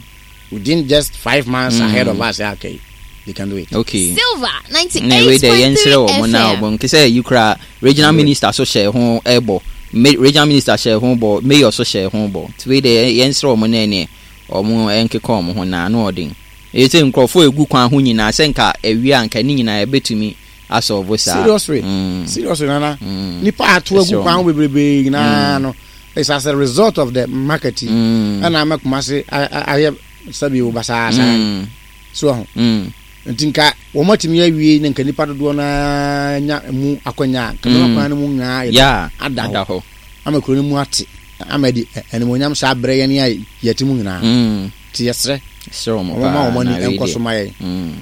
Within just five months Mm. ahead of us, okay, they can do it. Okay. Silver Na wei deɛ, yɛnsrɛ ninety-eight point three wɔ mo na F M. ɔbɔ nke sɛ yi koraa, regional Mm. minister so hyɛ ho ɛbɔ, Ma- regional minister hyɛ ho bɔ, mayor so hyɛ ho bɔ, nti wei deɛ, yɛnsrɛ wɔ mo na ɛneɛ ɔmo ɛnkeka ɔmo ho na ano ɔden. Ɛyɛ sɛ nkurɔfoɔ egu kwan ho nyinaa sɛ nka awie a, nka ne nyinaa ɛbɛtumi asɔɔbo saa. Seriously. Mm. Seriously, Nana, Mm. nipa ato agu Ɛsɛ kwan ho bebrebe nyinaa no, it's as a result of the market yi Mm. ɛna ama Kumase a- a- ayɛ sɛbi o basaa saa. Mm. So ho Mm. nti nka wɔn atumi awie ne nka nipa dodoɔ naa nya mu akɔnya a, nka Mm. kwan no mu nyinaa yɛ Yeah. ada ada hɔ hɔ ama kuro no mu ate ama de animonyam saa berɛ yɛn a yɛte mu nyinaa. Mm. Nti yɛsrɛ srɛ wɔn wɔn ma paa wɔn na ani wei nkɔ so deɛ ma yɛn. Mm.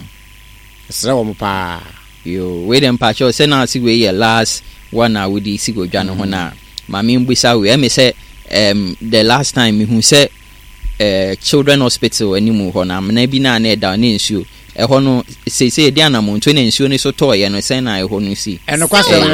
Yɛsrɛ wɔn paa. Yo, wei de, mpakyɛw, sɛ na ase wei yɛ last one a wode si godwa no ho na maame mbisa wei. Ɛmi sɛ um, the last time mehu sɛ uh, Children Hospital anim hɔ no, amena bi na na ɛda ne nsuo ɛhɔ no, seesei yɛde anamonto na nsuo no so tɔɔyɛ no, sɛn na ɛhɔ no si? Ɛnokwasɛm ne